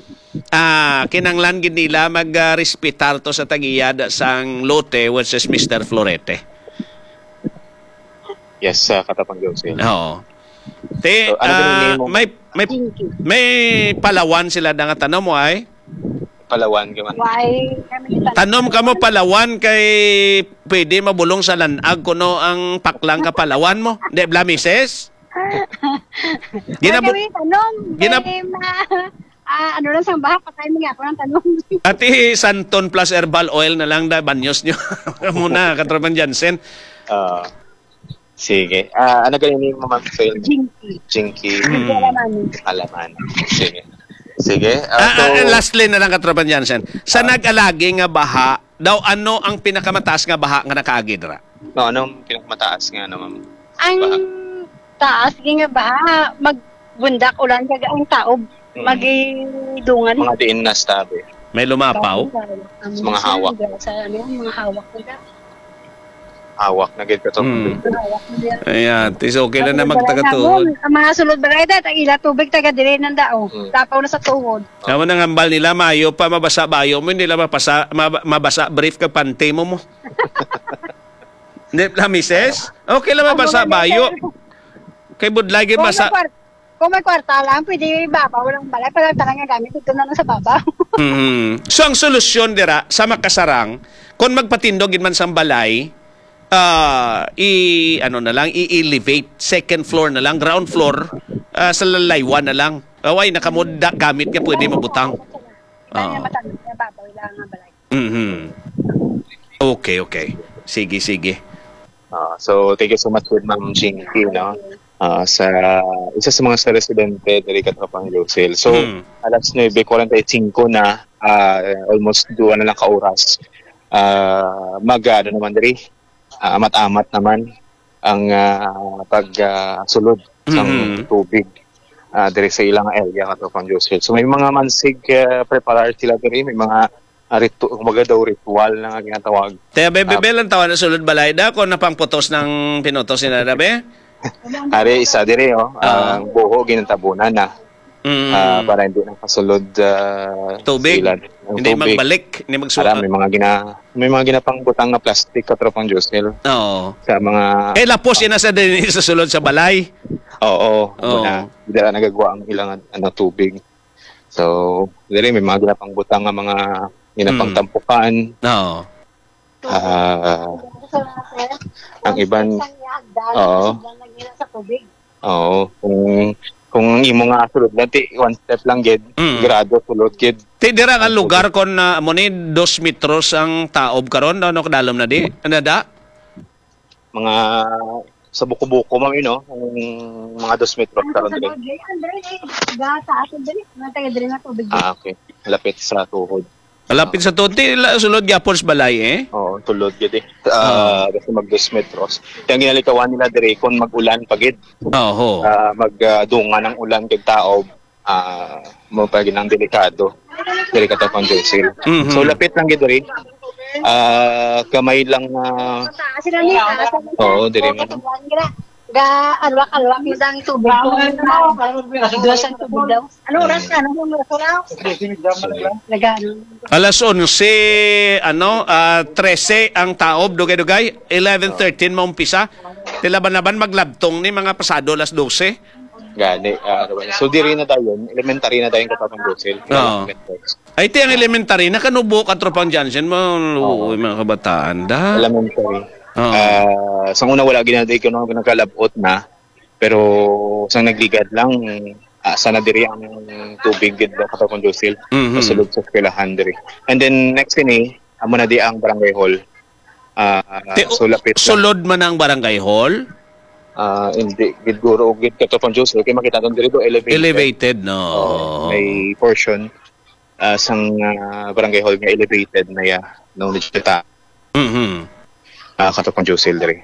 ah, kinanglan gid nila mag, ah, respetar to sa tag-iya sang lote, which is Mister Florete. Yes, ah, Katapang Jose. Oo. Te, So, ano ba yung ah, name mo? may, may, Jinky. may palawan sila na nga tanom mo ay? Palawan ka man. Why? Kami sa Tanom ka mo palawan kay pwede mabulong sa lanag kuno ang paklang ka palawan mo. Di bla, misis? Ginabu- Ay, kami tanom. Ginab- Kay ma- ah, ano lang sang baha, patay mo nga ako ng tanom. Ati Santon plus herbal oil na lang da, banyos nyo. Muna, Katropang Jansen. Ah, sige. Ah, ano galing yung mga soil? Jinky. Jinky. Mm. Hindi alam ano. Alaman. Sige. Sige. Ah, Ah, so, ah, lastly na lang, Katropang Jansen. Sa Ah. nag-alagi nga baha, daw ano ang pinakamataas nga baha nga nakaagi dira? No, anong pinakamataas nga, ano, ma'am? Ang Baha. taas, di nga baha, magbundak ulan, kag ang taob, Mm. magidungan. Mga diin na stabi. May lumapaw? Sa mga hawak. Sa, ano, mga hawak nila. Hawak na gid ka to. Mm. Hawak nila. Ayan, tis okay lang na Ang balay magtagatuhod. namon, ang mga sulod balay, da, ang ila tubig, taga dire nang dao. Mm. Tapaw na sa tuhod. Naman ang hambal nila, mayo pa, mabasa bayo mo, hindi lang mapasa, mab-, mabasa brief kag panty mo mo. Hindi lang, misis? Okay lang, Ang mabasa mga bayo. letter. Kay budlay, gid Kung masa- may kwar-, kung may kwarta lang, pwede ibabaw lang balay. Pag ang tanan nga gamit, ito na lang sa babaw. Mhm. So, ang solusyon dira, sa makasarang, kung magpatindog gid man sang balay, ah, i-, ano na lang, i-elevate, second floor na lang, ground floor, ah, sa lalaywan na lang. Away, nakamuda gamit nga pwede mabutang. Kaya Ah. matanggal niya, babaw lang ang balay. Mhm. Okay, okay. Sige, sige. Ah, so, thank you so much with Ma'am Jinky, no? Ah, sa isa sa mga sa residente diri, Katropang Lucille. So, Hmm. alas nuebe cuarenta y cinco na, ah, almost duha na lang ka oras. Ah, mag, ano naman diri, ah, amat-amat naman ang, ah, pag, ah, sulod sang Mhm. tubig, ah, diri sa ilang area, Katropang Joseph. So, may mga mansig, ah, preparar sila diri, may mga, ah, ritu-, kumbaga daw ritual na nga ginatawag. Te, be, be, Ah. be, lang tawa na sulod balay da, kung napangputos ng pinutos nila, da, be? Ari, isa diri, oh, Ah. ang buho ginatabunan na. Mm. Ah, para hindi na kasulod, ah, Tubig. sila ng Hindi tubig. magbalik, hindi magsu- Ara, may mga gina-, may mga ginapangbutang nga plastic, Katropang Josel, Oo. sa mga Eh, lapos ina sa din sa sulod sa balay. Oo, Oo. muna. Dira nagagawa ang ilang, ano, tubig. So, diri may mga ginapangbutang nga mga ginapangtampukan. Oo. Ah, ang iban, oo. Sa tubig. Oo, kung, kung ang imo nga sulod lang, ti, one step lang gid, Mm. grado sulod gid. Ti dira nga Ang lugar tubig. Kon, ah, amo ni dos metros ang taob karon, ano kadalom na di? Ano da? Mga sa buko-buko, ma'am, you know, ang mga dos metros Ano karon sa diri. Andre, Andre, eh, ga sa atin diri, mga taga diri nga tubig. Ah, okay. Lapit sa tuhod. Malapit sa to. Ti, la-, sulod gyapon sa balay, eh. Oo, tulod gid, eh. Ah, Oo. basta mag dos metros. Kaya ang ginalikawan nila diri, kung mag-ulan pa gid. Oho. Ah, mag, ah, dungan ang ulan kag taob, ah, mo pa gid ang delikado. Delikado pang Josil. Mhm. So, lapit lang gid diri. Ah, kamay lang, ah, Sila ni, ah, sa oo, diri man. Ga, alwak-alwak mo dang tubig ko. Dos ang tubig daw. Ano oras ka? Ano oras ka? Nagano? Alas onse, ano, ah, trese ang taob, dugay-dugay. Eleven thirteen maumpisa. Tilaban-laban maglabtong ni mga pasado alas dose. Gani, ah, ano ba? So, diri na dayon, elementary na dayon, Katapang Josel. Oo. Ay, ti ang elementary, nakanubo, Katropang Jansen, mo, Oo. mga kabataan, da? Elementary. Oo. Ah, sa una, wala ginadi ko nung nakalabot na. Pero sa nagligad lang, ah, sana diri ang tubig gid ba, Katapang Josel? Mhm. Pasulod sa eskwelahan diri. And then, next ini, Amo na di ang barangay hall. Ah, Te- so lapit lang. Sulod man ang barangay hall? Ah, hindi gid guro gid, Katropang Jose, kay makita naton diri do elevated. Elevated, no? Oo, may portion, ah, sang, ah, barangay hall nga elevated na ya, no, medyo ta-, Mhm. ah, Katropang Jose diri.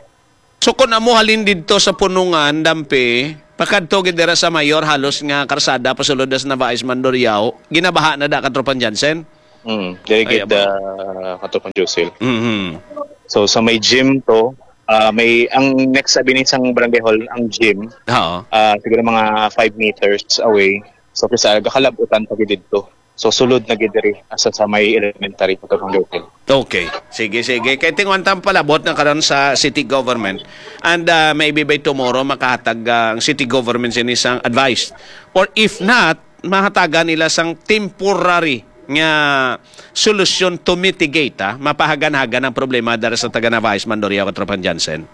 So, kung amo halin didto sa Punungan, Dampi, pakadto gid dira sa Mayor, halos nga karsada pasulod na sa Navais Mandurriao, ginabaha na da, Katropang Jansen? Mm, diri Ay, gid, aba. ah, Katropang Josel. Mhm. So, sa may gym to, ah, may, ang next abi ni sang barangay hall, ang gym. Oo. Ah, siguro mga five meters away. So, kisa gakalabutan pa gid didto. So, sulod na gid diri, asa sa may elementary, Katropang Josel. Okay. Sige, sige. Kay tingwan ta ang palabot na karon sa city government. And, ah, maybe by tomorrow, makahatag, ah, ang city government sini sang advice. Or if not, mahatagan nila sang temporary nga solusyon to mitigate, ah, mapahagan-hagan ang problema dara sa taga Navais, Mandurriao, Katropang Jansen.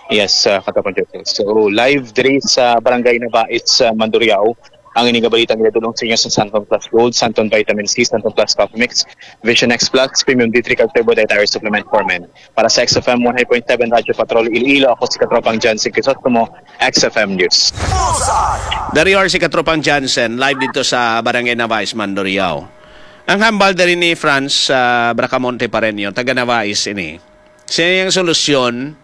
Yes, ah, Katropang Jansen. So, live diri sa Barangay Navais, sa Mandurriao, ang ini nga balita nga dulong sa inyo sa Santon Plus Gold, Santon Vitamin C, Santon Plus Coffee Mix, Vision X Plus, Premium D three, kag Turbo Dietary Supplement for Men. Para sa X F M one hundred point seven Radyo Patrol Iloilo, ako si Katropang Jansen Crisostomo, X F M News. Dari or si Katropang Jansen, live dito sa Barangay Navais, Mandurriao. Ang hambal diri ni Franz, ah, Bracamonte Pareño, taga Navais ini. Siya ang solusyon,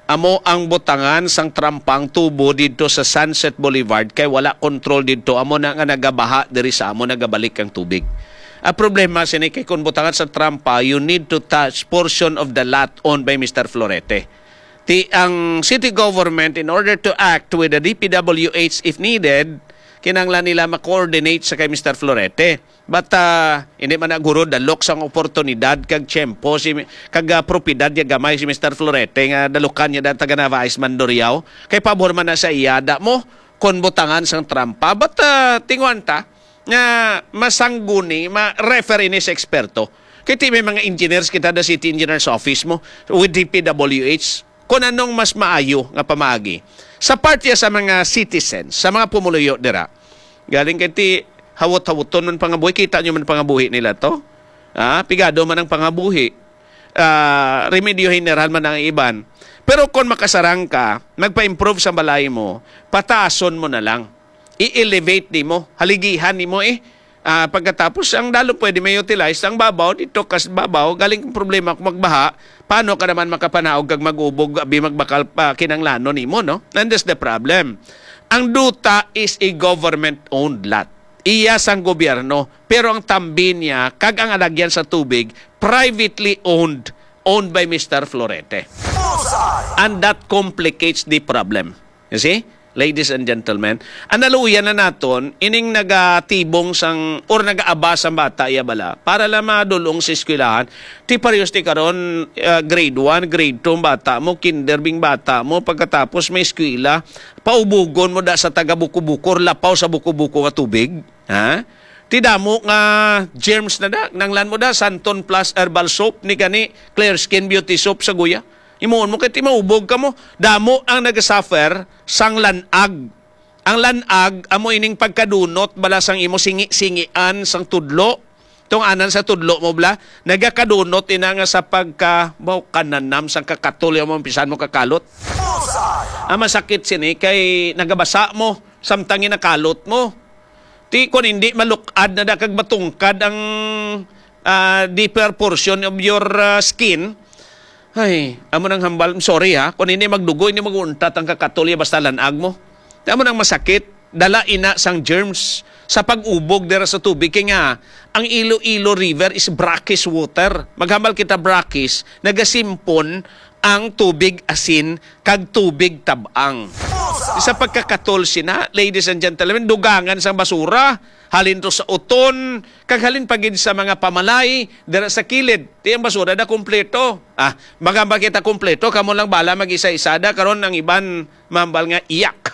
amo ang butangan sang trampang tubo didto sa Sunset Boulevard kay wala control didto, amo na nga nagabaha diri sa amo, nagabalik ang tubig. Ang problema sini kay kung butangan sa trampa, you need to touch portion of the lot owned by Mister Florete. Ti ang city government, in order to act with the D P W H if needed, kinahanglan nila ma-coordinate sa kay Mister Florete. But, ah, hindi man na guro dalok sang oportunidad kag tiyempo si, kag, ah, propiedad niya gamay si Mister Florete nga dalukan niya da taga Navais Mandurriao. Kay pabor man na sa iya da mo kon butangan sang trampa. But, ah, tingwan ta nga masangguni, ma-refer ini sa eksperto. Kay ti may mga engineers kita da City Engineers Office mo with D P W H. Kung anong mas maayo nga pamaagi sa parte sa mga citizens, sa mga pumuluyo dira. Galing kay ti hawot-hawoton man pangabuhi, kita nyo man pangabuhi nila to. Ah, pigado man ang pangabuhi. Ah, remedyo general man ang iban. Pero kung makasarang ka, magpa-improve sa balay mo, pataason mo na lang. I-elevate nimo, haligihan nimo eh. Ah, pagkatapos, ang dalo pwede may utilize ang babaw dito, kas babaw, galing ang problema kung magbaha, paano ka naman makapanaog kag mag-ubog, abi magbakal pa kinanglano nimo, no? And that's the problem. Ang duta is a government-owned lot. Iya sang gobyerno, pero ang tambi niya kag ang alagyan sa tubig, privately owned, owned by Mister Florete. And that complicates the problem. You see? Ladies and gentlemen, analuyan na naton ining nagatibong sang or nagaaba sang bata iya bala para lang madulong sa eskwelahan. Ti parehas ti karon, ah, grade one, grade two ang bata mo, kinder bing bata mo, pagkatapos may eskwela, paubugon mo da sa taga Buko-Buko or lapaw sa Buko-Buko nga tubig, ha? Ti damo nga germs na da, nanglan mo da, Santon Plus Herbal Soap, ni gani, Clear Skin Beauty Soap sa guya. Imuon mo kay ti maubog ka mo. Damo ang nagasuffer sang lanag. Ang lanag amo ining pagkadunot bala sang imo singi-singian sang tudlo. Tong anan sa tudlo mo bala, nagakadunot ina nga sa pagka, baw, kananam sang kakatol yung mga pisan mo kakalot. Ang masakit sini kay nagabasa mo, samtang ginakalot mo. Ti kon hindi malukad na da kag matungkad ang, ah, deeper portion of your, ah, skin. Ay, amo nang hambal. Sorry ha, kon hindi magdugo, hindi mag-untat ang kakatol ya basta lanag mo. Ti amo nang masakit, dala ina sang germs sa pag-ubog dira sa tubig. Kay nga, ang Iloilo River is brackish water. Maghambal kita brackish, nagasimpon ang tubig asin kag tubig tab-ang. Sa pagkakatol sina, ladies and gentlemen, dugangan sang basura, halin to sa uton, kag halin pa gid sa mga pamalay dira sa kilid. Ti ang basura da kompleto. Ah, magamba kita kompleto, kamo lang bala mag-isa-isa da, karon ang iban mambal nga iyak.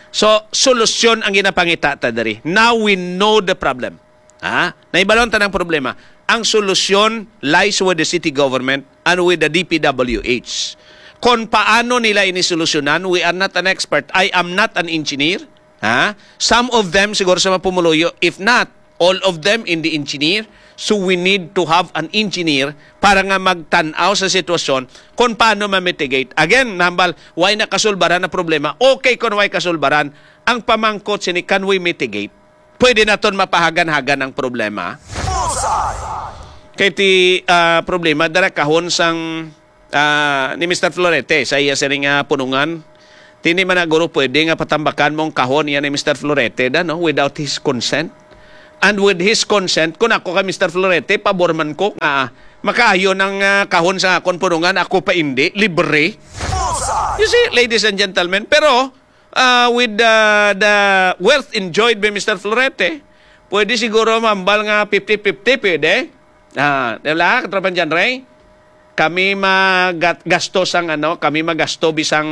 So, solusyon ang ginapangita ta diri. Now we know the problem. Ha? Nahibaluan ta ng problema. Ang solusyon lies with the city government and with the D P W H. Kon paano nila ini solusyonan, we are not an expert. I am not an engineer. Ha? Some of them siguro sa mga pumuluyo, if not all of them in the engineer, So we need to have an engineer para nga magtan-aw sa sitwasyon kung paano ma-mitigate. Again, nambal, why na kasulbaran ang problema? Okay kung why kasulbaran. Ang pamangkot sini, can we mitigate? Pwede naton mapahagan-hagan ang problema. Kay ti ah, problema dara kahon sang ah, ni Mister Florete sa iya sining nga punungan. Tini man na guro pwede nga patambakan mong kahon iya ni Mister Florete da, no, without his consent. And with his consent, kung ako kay Mister Florete, pabor man ko nga makaayo ng ah, kahon sa akon punungan, ako pa indi, libre. You see, ladies and gentlemen, pero ah, with the, the wealth enjoyed by Mister Florete, pwede siguro mambal nga fifty fifty, pwede. Ah, di ba, Katropang John Ray? Kami magasto sang ano, kami magasto bisang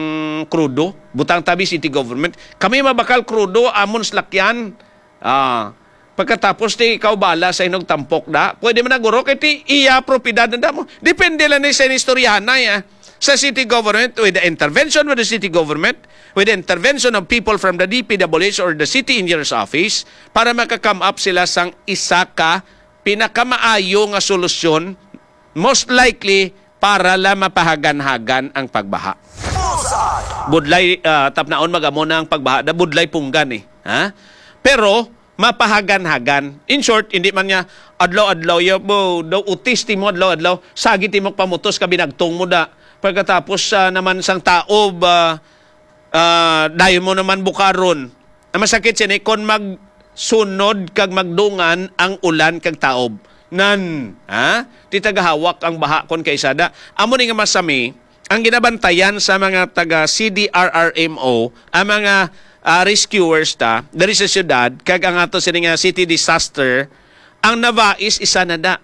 krudo. Butang tabi city government. Kami mabakal krudo, amon slakyan. Ah, pagkatapos ti ikaw bala sa inog tampok da. Pwede man na guro kay ti iya propiedad na damo. Depende lang ni sa istoryahanay, ah. Sa city government, with the intervention with the city government, with the intervention of people from the D P W H or the city engineer's office para maka-come up sila sang isa ka pinakamaayo nga solusyon, most likely para la mapahagan-hagan ang pagbaha. Budlay ah, tapnaon magamo na ang pagbaha, da budlay punggan eh. Ha? Pero mapahagan-hagan. In short, hindi man niya adlaw-adlaw ya bo, daw utis timo adlaw-adlaw, sagit timo pamutos ka binagtong mo da. Pagkatapos ah, naman sang taob, ah, ah, dayon mo naman bukaron. Ang masakit sini kon magsunod kag magdungan ang ulan kag taob. Nan, ha? Ti tagahawak ang baha kon kaisada. Amo ni nga masami, ang ginabantayan sa mga taga C D R R M O, ang mga ah, rescuers ta diri sa syudad, kag ang ato sini nga city disaster, ang Navais isa na da.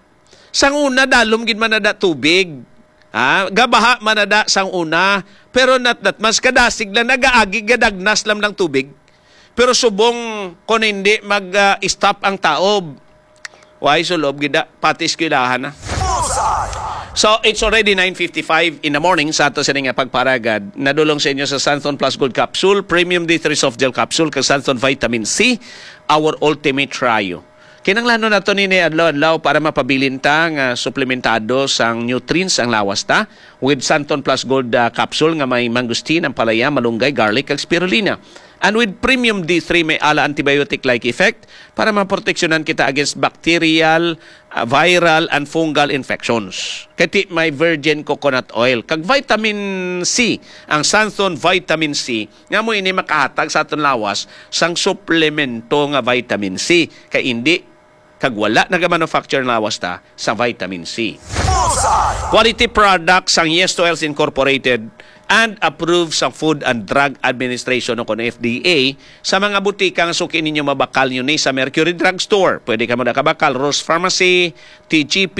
Sang una, dalom gid man na da tubig. Ha? Gabaha man na da sang una. Pero not that much. Kadasig lang, nagaagi, gadagnas lang ng tubig. Pero subong kung hindi mag-stop ang taob, why sulob gid da, pati eskwelahan na. So, it's already nine fifty-five in the morning sa ato sini nga pagparagad. Nadulong sa inyo sa Santon Plus Gold Capsule, Premium D three Soft Gel Capsule, kag Santon Vitamin C, our ultimate trio. Kinahanglanon nato nini adlaw-adlaw para mapabilin ta nga suplementado sang nutrients ang lawas ta with Santon Plus Gold ah, Capsule nga may mangosteen, ampalaya, malunggay, garlic, kag spirulina. And with Premium D three may ala antibiotic-like effect para maproteksyonan kita against bacterial, ah, viral, and fungal infections. Kay ti may virgin coconut oil kag vitamin C, ang Santon Vitamin C, nga mo ini makahatag sa aton lawas sang suplemento nga vitamin C. Kay indi kag wala nagamanufacture ang lawas ta sa vitamin C. Quality products sang Yes to Health Incorporated and approved sa Food and Drug Administration o kon F D A sa mga butika nga suki ninyo. Mabakal nyo ni sa Mercury Drug Store. Pwede kamo nakabakal Rose Pharmacy, T G P,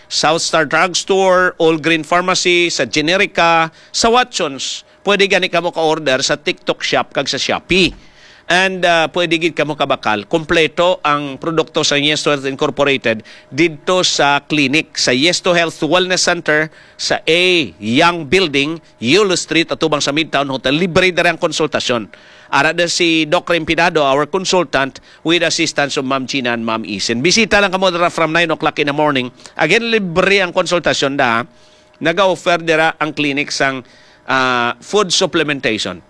South Star Drug Store, All Green Pharmacy, sa Generica, sa Watsons. Pwede gani kamo ka-order sa TikTok Shop kag sa Shopee. And ah, pwede gid kamo kabakal kompleto ang produkto sa Yes to Health Incorporated didto sa clinic sa Yes to Health Wellness Center sa A Young Building, Yulo Street, atubang sa Midtown Hotel. Libre diri ang konsultasyon. Ara da si Doc Rempinado, our consultant, with assistance of Ma'am Gina and Ma'am Isen. Bisita lang kamo dira from nine o'clock in the morning. Again, libre ang konsultasyon da. Naga-offer dira ang clinic sang ah, food supplementation.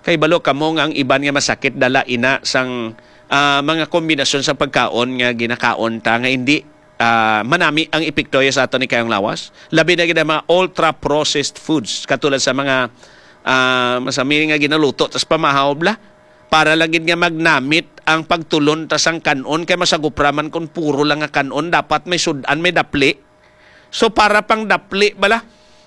Kay balo kamo nga ang iban nga masakit dala ina sang ah, mga kombinasyon sa pagkaon nga ginakaon ta nga hindi ah, manami ang epekto sa aton ni kayong lawas. Labi na gid ang mga ultra-processed foods katulad sa mga ah, masami nga ginaluto tas pamahaw bla. Para lang gid nga magnamit ang pagtulon ta sang kan-on kay masagupra man kung puro lang nga kan-on, dapat may sud-an, may dapli. So para pang dapli bala,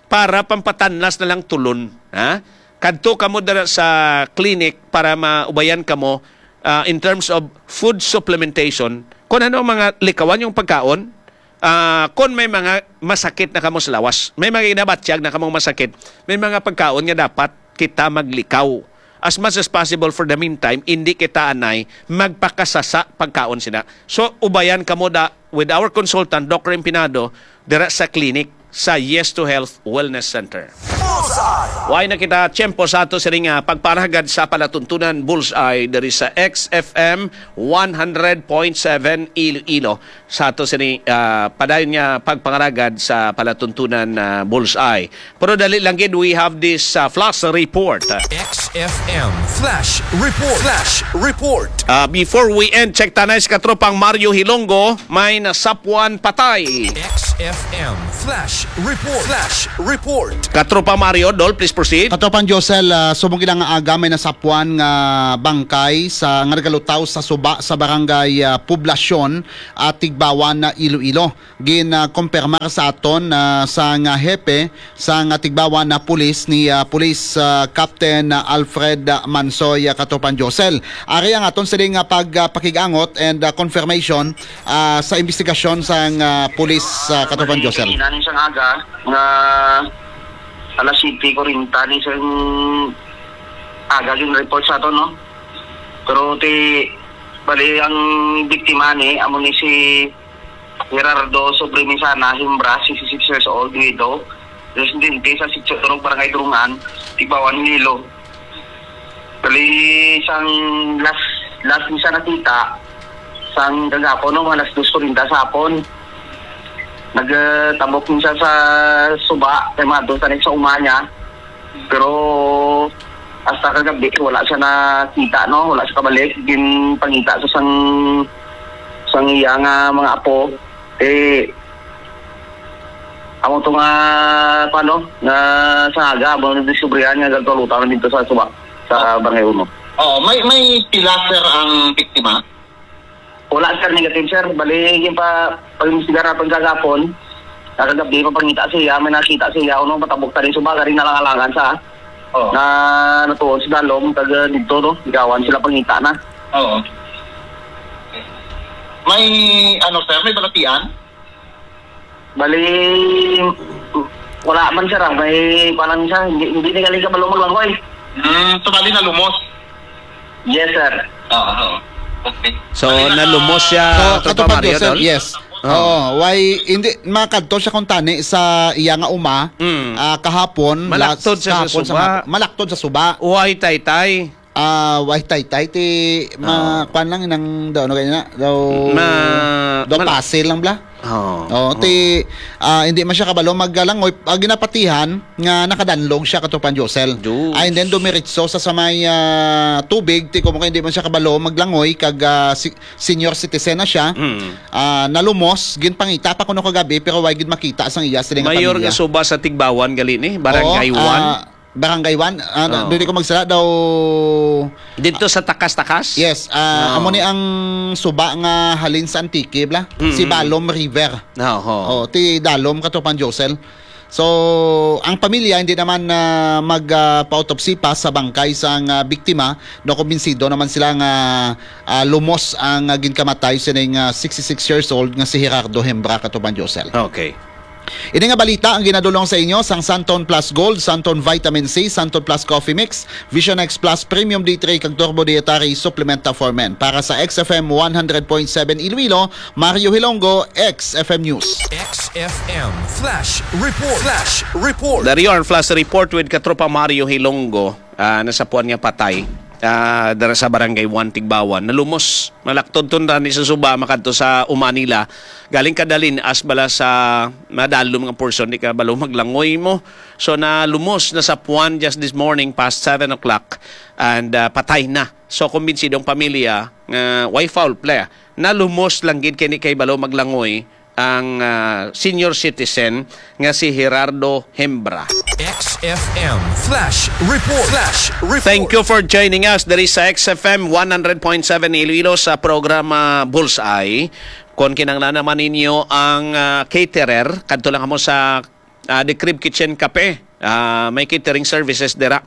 para pang patanlas na lang tulon, ha? Kadto kamo dira sa clinic para maubayan kamo ah, in terms of food supplementation. Kung ano ang mga likawan yung pagkaon, ah, kung may mga masakit na kamo sa lawas, may mga ginabatyag na kamong masakit, may mga pagkaon nga dapat kita maglikaw as much as possible for the meantime, hindi kita anay magpakasasa pagkaon sina. So, ubayan kamo da with our consultant, Doc Rempinado, dira sa clinic sa Yes to Health Wellness Center. Way na kita tiyempo sa ato sining, ah, pagparagad sa palatuntunan Bullseye diri sa X F M one hundred point seven Iloilo. Sa ato sini, ah, padayon nga pagpangaragad sa palatuntunan, ah, Bullseye. Pero dali lang gid, we have this, ah, flash report. X F M Flash Report. Flash Report. Ah, before we end, check tanay sa katropang Mario Hilonggo, may nasapwan patay. X F M Flash Report. Flash Report. Katropa Mario, Dol, please proceed. Katropang Josel, ah, subong gid nga aga may nasapwan nga bangkay sa, nga nagalutaw sa suba sa barangay, ah, Poblacion, ah, Tigbawan, na Iloilo. Gin, ah, kumpirmar sa aton, ah, sang hepe sang Tigbawan na pulis ni, ah, Police, ah, Captain, ah, Alfred, ah, Mansoy, ah, katropang Josel. Ari ang aton sining nga pag, ah, pakig-angot and, ah, confirmation, ah, sa investigasyon sang, ah, pulis, ah, katropang Josel. Kanina ning sang aga nga alas siyete kuwarenta ni sang aga gin-report sa aton, no? Pero ti, bali, ang biktima ni, amo ni si Gerardo Sobremisana Himbra, sixty-six years old, widow, residente sa Sitio Turog, Barangay Durungan, Tigbawan, Iloilo. Bali, sang last, last ni siya nakita, sang kagapon, no, mga alas dos kuwarenta sa hapon. Nagtambok ni siya sa suba, kay mga dos na sa uma niya. Pero hasta kagabi, wala siya nakita, no? Wala siya kabalik. Ginpangita sa sang, sang iya nga mga apo. Eh, amo to nga, paano, nga sa aga, amo na diskubrihan nga nagkalutan na dito sa suba, sa Barangay Uno. Oo, may, may pila, sir, ang biktima? Wala, sir, negative, sir. Bali, yung pa, pag-imbestigar natin kagapon, nakagabi, papangita siya, may nakita siya, ano, matabok tali suba, garing nalangalangan sa, Oo. Na natuon si Dalom, taga dito, no? Igawan sila pangita na. Oo. May, ano, sir, may balatian? Bali, wala man, sir, ah. May, parang siya, hindi, hindi na galing kabalo maglangoy. Hmm, so bali nalumos? Yes, sir. Oo, oo. Okay. So, bali naka- nalumos siya, So, Tropa katupad Mario, ko, sir, Dol? Yes. Oo. Oo, why, hindi, makadto siya kung tani sa iya nga uma, Mm. ah, kahapon, Malaktod last, siya sa kahapon sa suba. hapon. Malaktod sa suba. Way taytay. Ah, way taytay, ti, ma-, Ah. kwan lang, nang, daw, ano ganyan na, daw, Ma-, daw mal- pasil lang, bla? Oo. Oo, Oo. ti, ah, hindi man siya kabalo maglangoy. Ah, ginapatihan nga nakadanlog siya, katupad Josel. Diyos. Ah, and then dumiretso sa, sa may, ah, tubig, ti, kung hindi man siya kabalo maglangoy, kag, ah, si-, senior citizen na siya. Mm. Ah, nalumos, ginpangita pa kuno kagabi, pero way gid makita sang iya siling nga Mayor pamilya. nga suba sa Tigbawan gali ni, Barangay Oo, One. ah, Barangay One, ah, Oo. dili ko magsala daw. Dito sa takas-takas? Yes, ah, Oo. amo ni ang suba nga halin sa Antique, bla? Mm-mm. Si Balom River. Oo. Oh, ti Dalom, katupad Josel. So, ang pamilya hindi naman, ah, mag, ah, pa-autopsy pa sa bangkay sang, ah, biktima. No, kumbinsido naman sila nga, ah, lumos ang, ah, ginkamatay sining, ah, sixty-six years old nga si Gerardo Hembra, katupad Josel. Okay. Ini nga balita ang ginadulong sa inyo sang Santon Plus Gold, Santon Vitamin C, Santon Plus Coffee Mix, Vision X Plus Premium D three, kag Turbo Dietary Supplementa for Men. Para sa X F M one hundred point seven Iloilo, Mario Hilonggo, X F M News. X F M Flash Report. Flash Report. Dari ang flash report with Katropa Mario Hilonggo, ah, nasapuan nga patay, ah, dara sa Barangay One, Tigbawan. Nalumos, malaktod tun ni sa suba, makadto sa uma nila. Galing kadalin, as bala sa madalom nga portion, di ka balo maglangoy mo. So, nalumos, nasapuan just this morning, past seven o'clock, and, ah, patay na. So, kumbinsido ang pamilya nga way foul play. Nalumos lang gid kini kay balo maglangoy ang, ah, senior citizen nga si Gerardo Hembra. X F M Flash Report. Flash Report. Thank you for joining us diri sa X F M one hundred point seven Iloilo sa programa Bullseye. Kung kinahanglan naman ninyo ang, ah, caterer, kadto lang mo sa, ah, The Crib Kitchen Cafe. Ah, may catering services dira.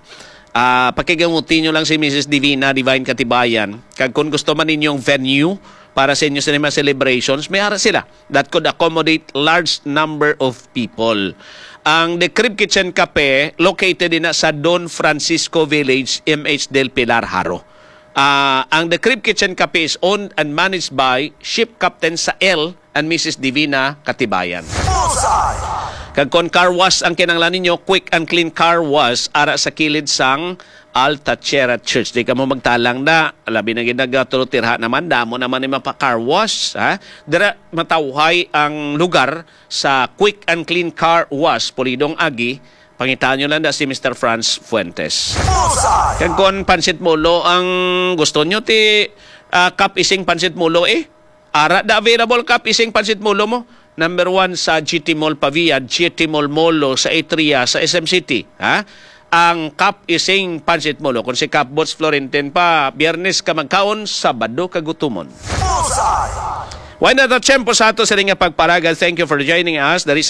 Ah, pakigamuti nyo lang si Missus Divina, Divine Katibayan. Kag kung gusto man ninyong venue para sa inyo sa mga celebrations, may ara sila that could accommodate large number of people. Ang The Crib Kitchen Cafe, located din sa Don Francisco Village, M H Del Pilar, Jaro. Ah, ang The Crib Kitchen Cafe is owned and managed by Ship Captain Sael and Missus Divina Katibayan. Bullseye! Kag kon car wash ang kinahanglan ninyo, Quick and Clean Car Wash ara sa kilid sang Alta Sierra Church. Di kamo magtalang na, labi na gid nagatulotirha naman, damo naman ni mapa-car wash, ha? Dira matawhay ang lugar sa Quick and Clean Car Wash, Pulidong Agi. Pangitaan nyo lang na si Mister Franz Fuentes. Kag kon pansit molo ang gusto nyo, ti ah, Cup Ising pansit molo eh. Ara da available Cup Ising pansit molo mo. Number one sa G T Mall Pavia, G T Mall Molo sa Atria, sa S M City. Ha? Ang Cup Ising pansit molo. Kung si Cup Boots Florentine pa, Biyernes ka magkaon, Sabado ka gutumon. Wala na ta tiyempo sa ato sa nga pagparagal. Thank you for joining us. Dari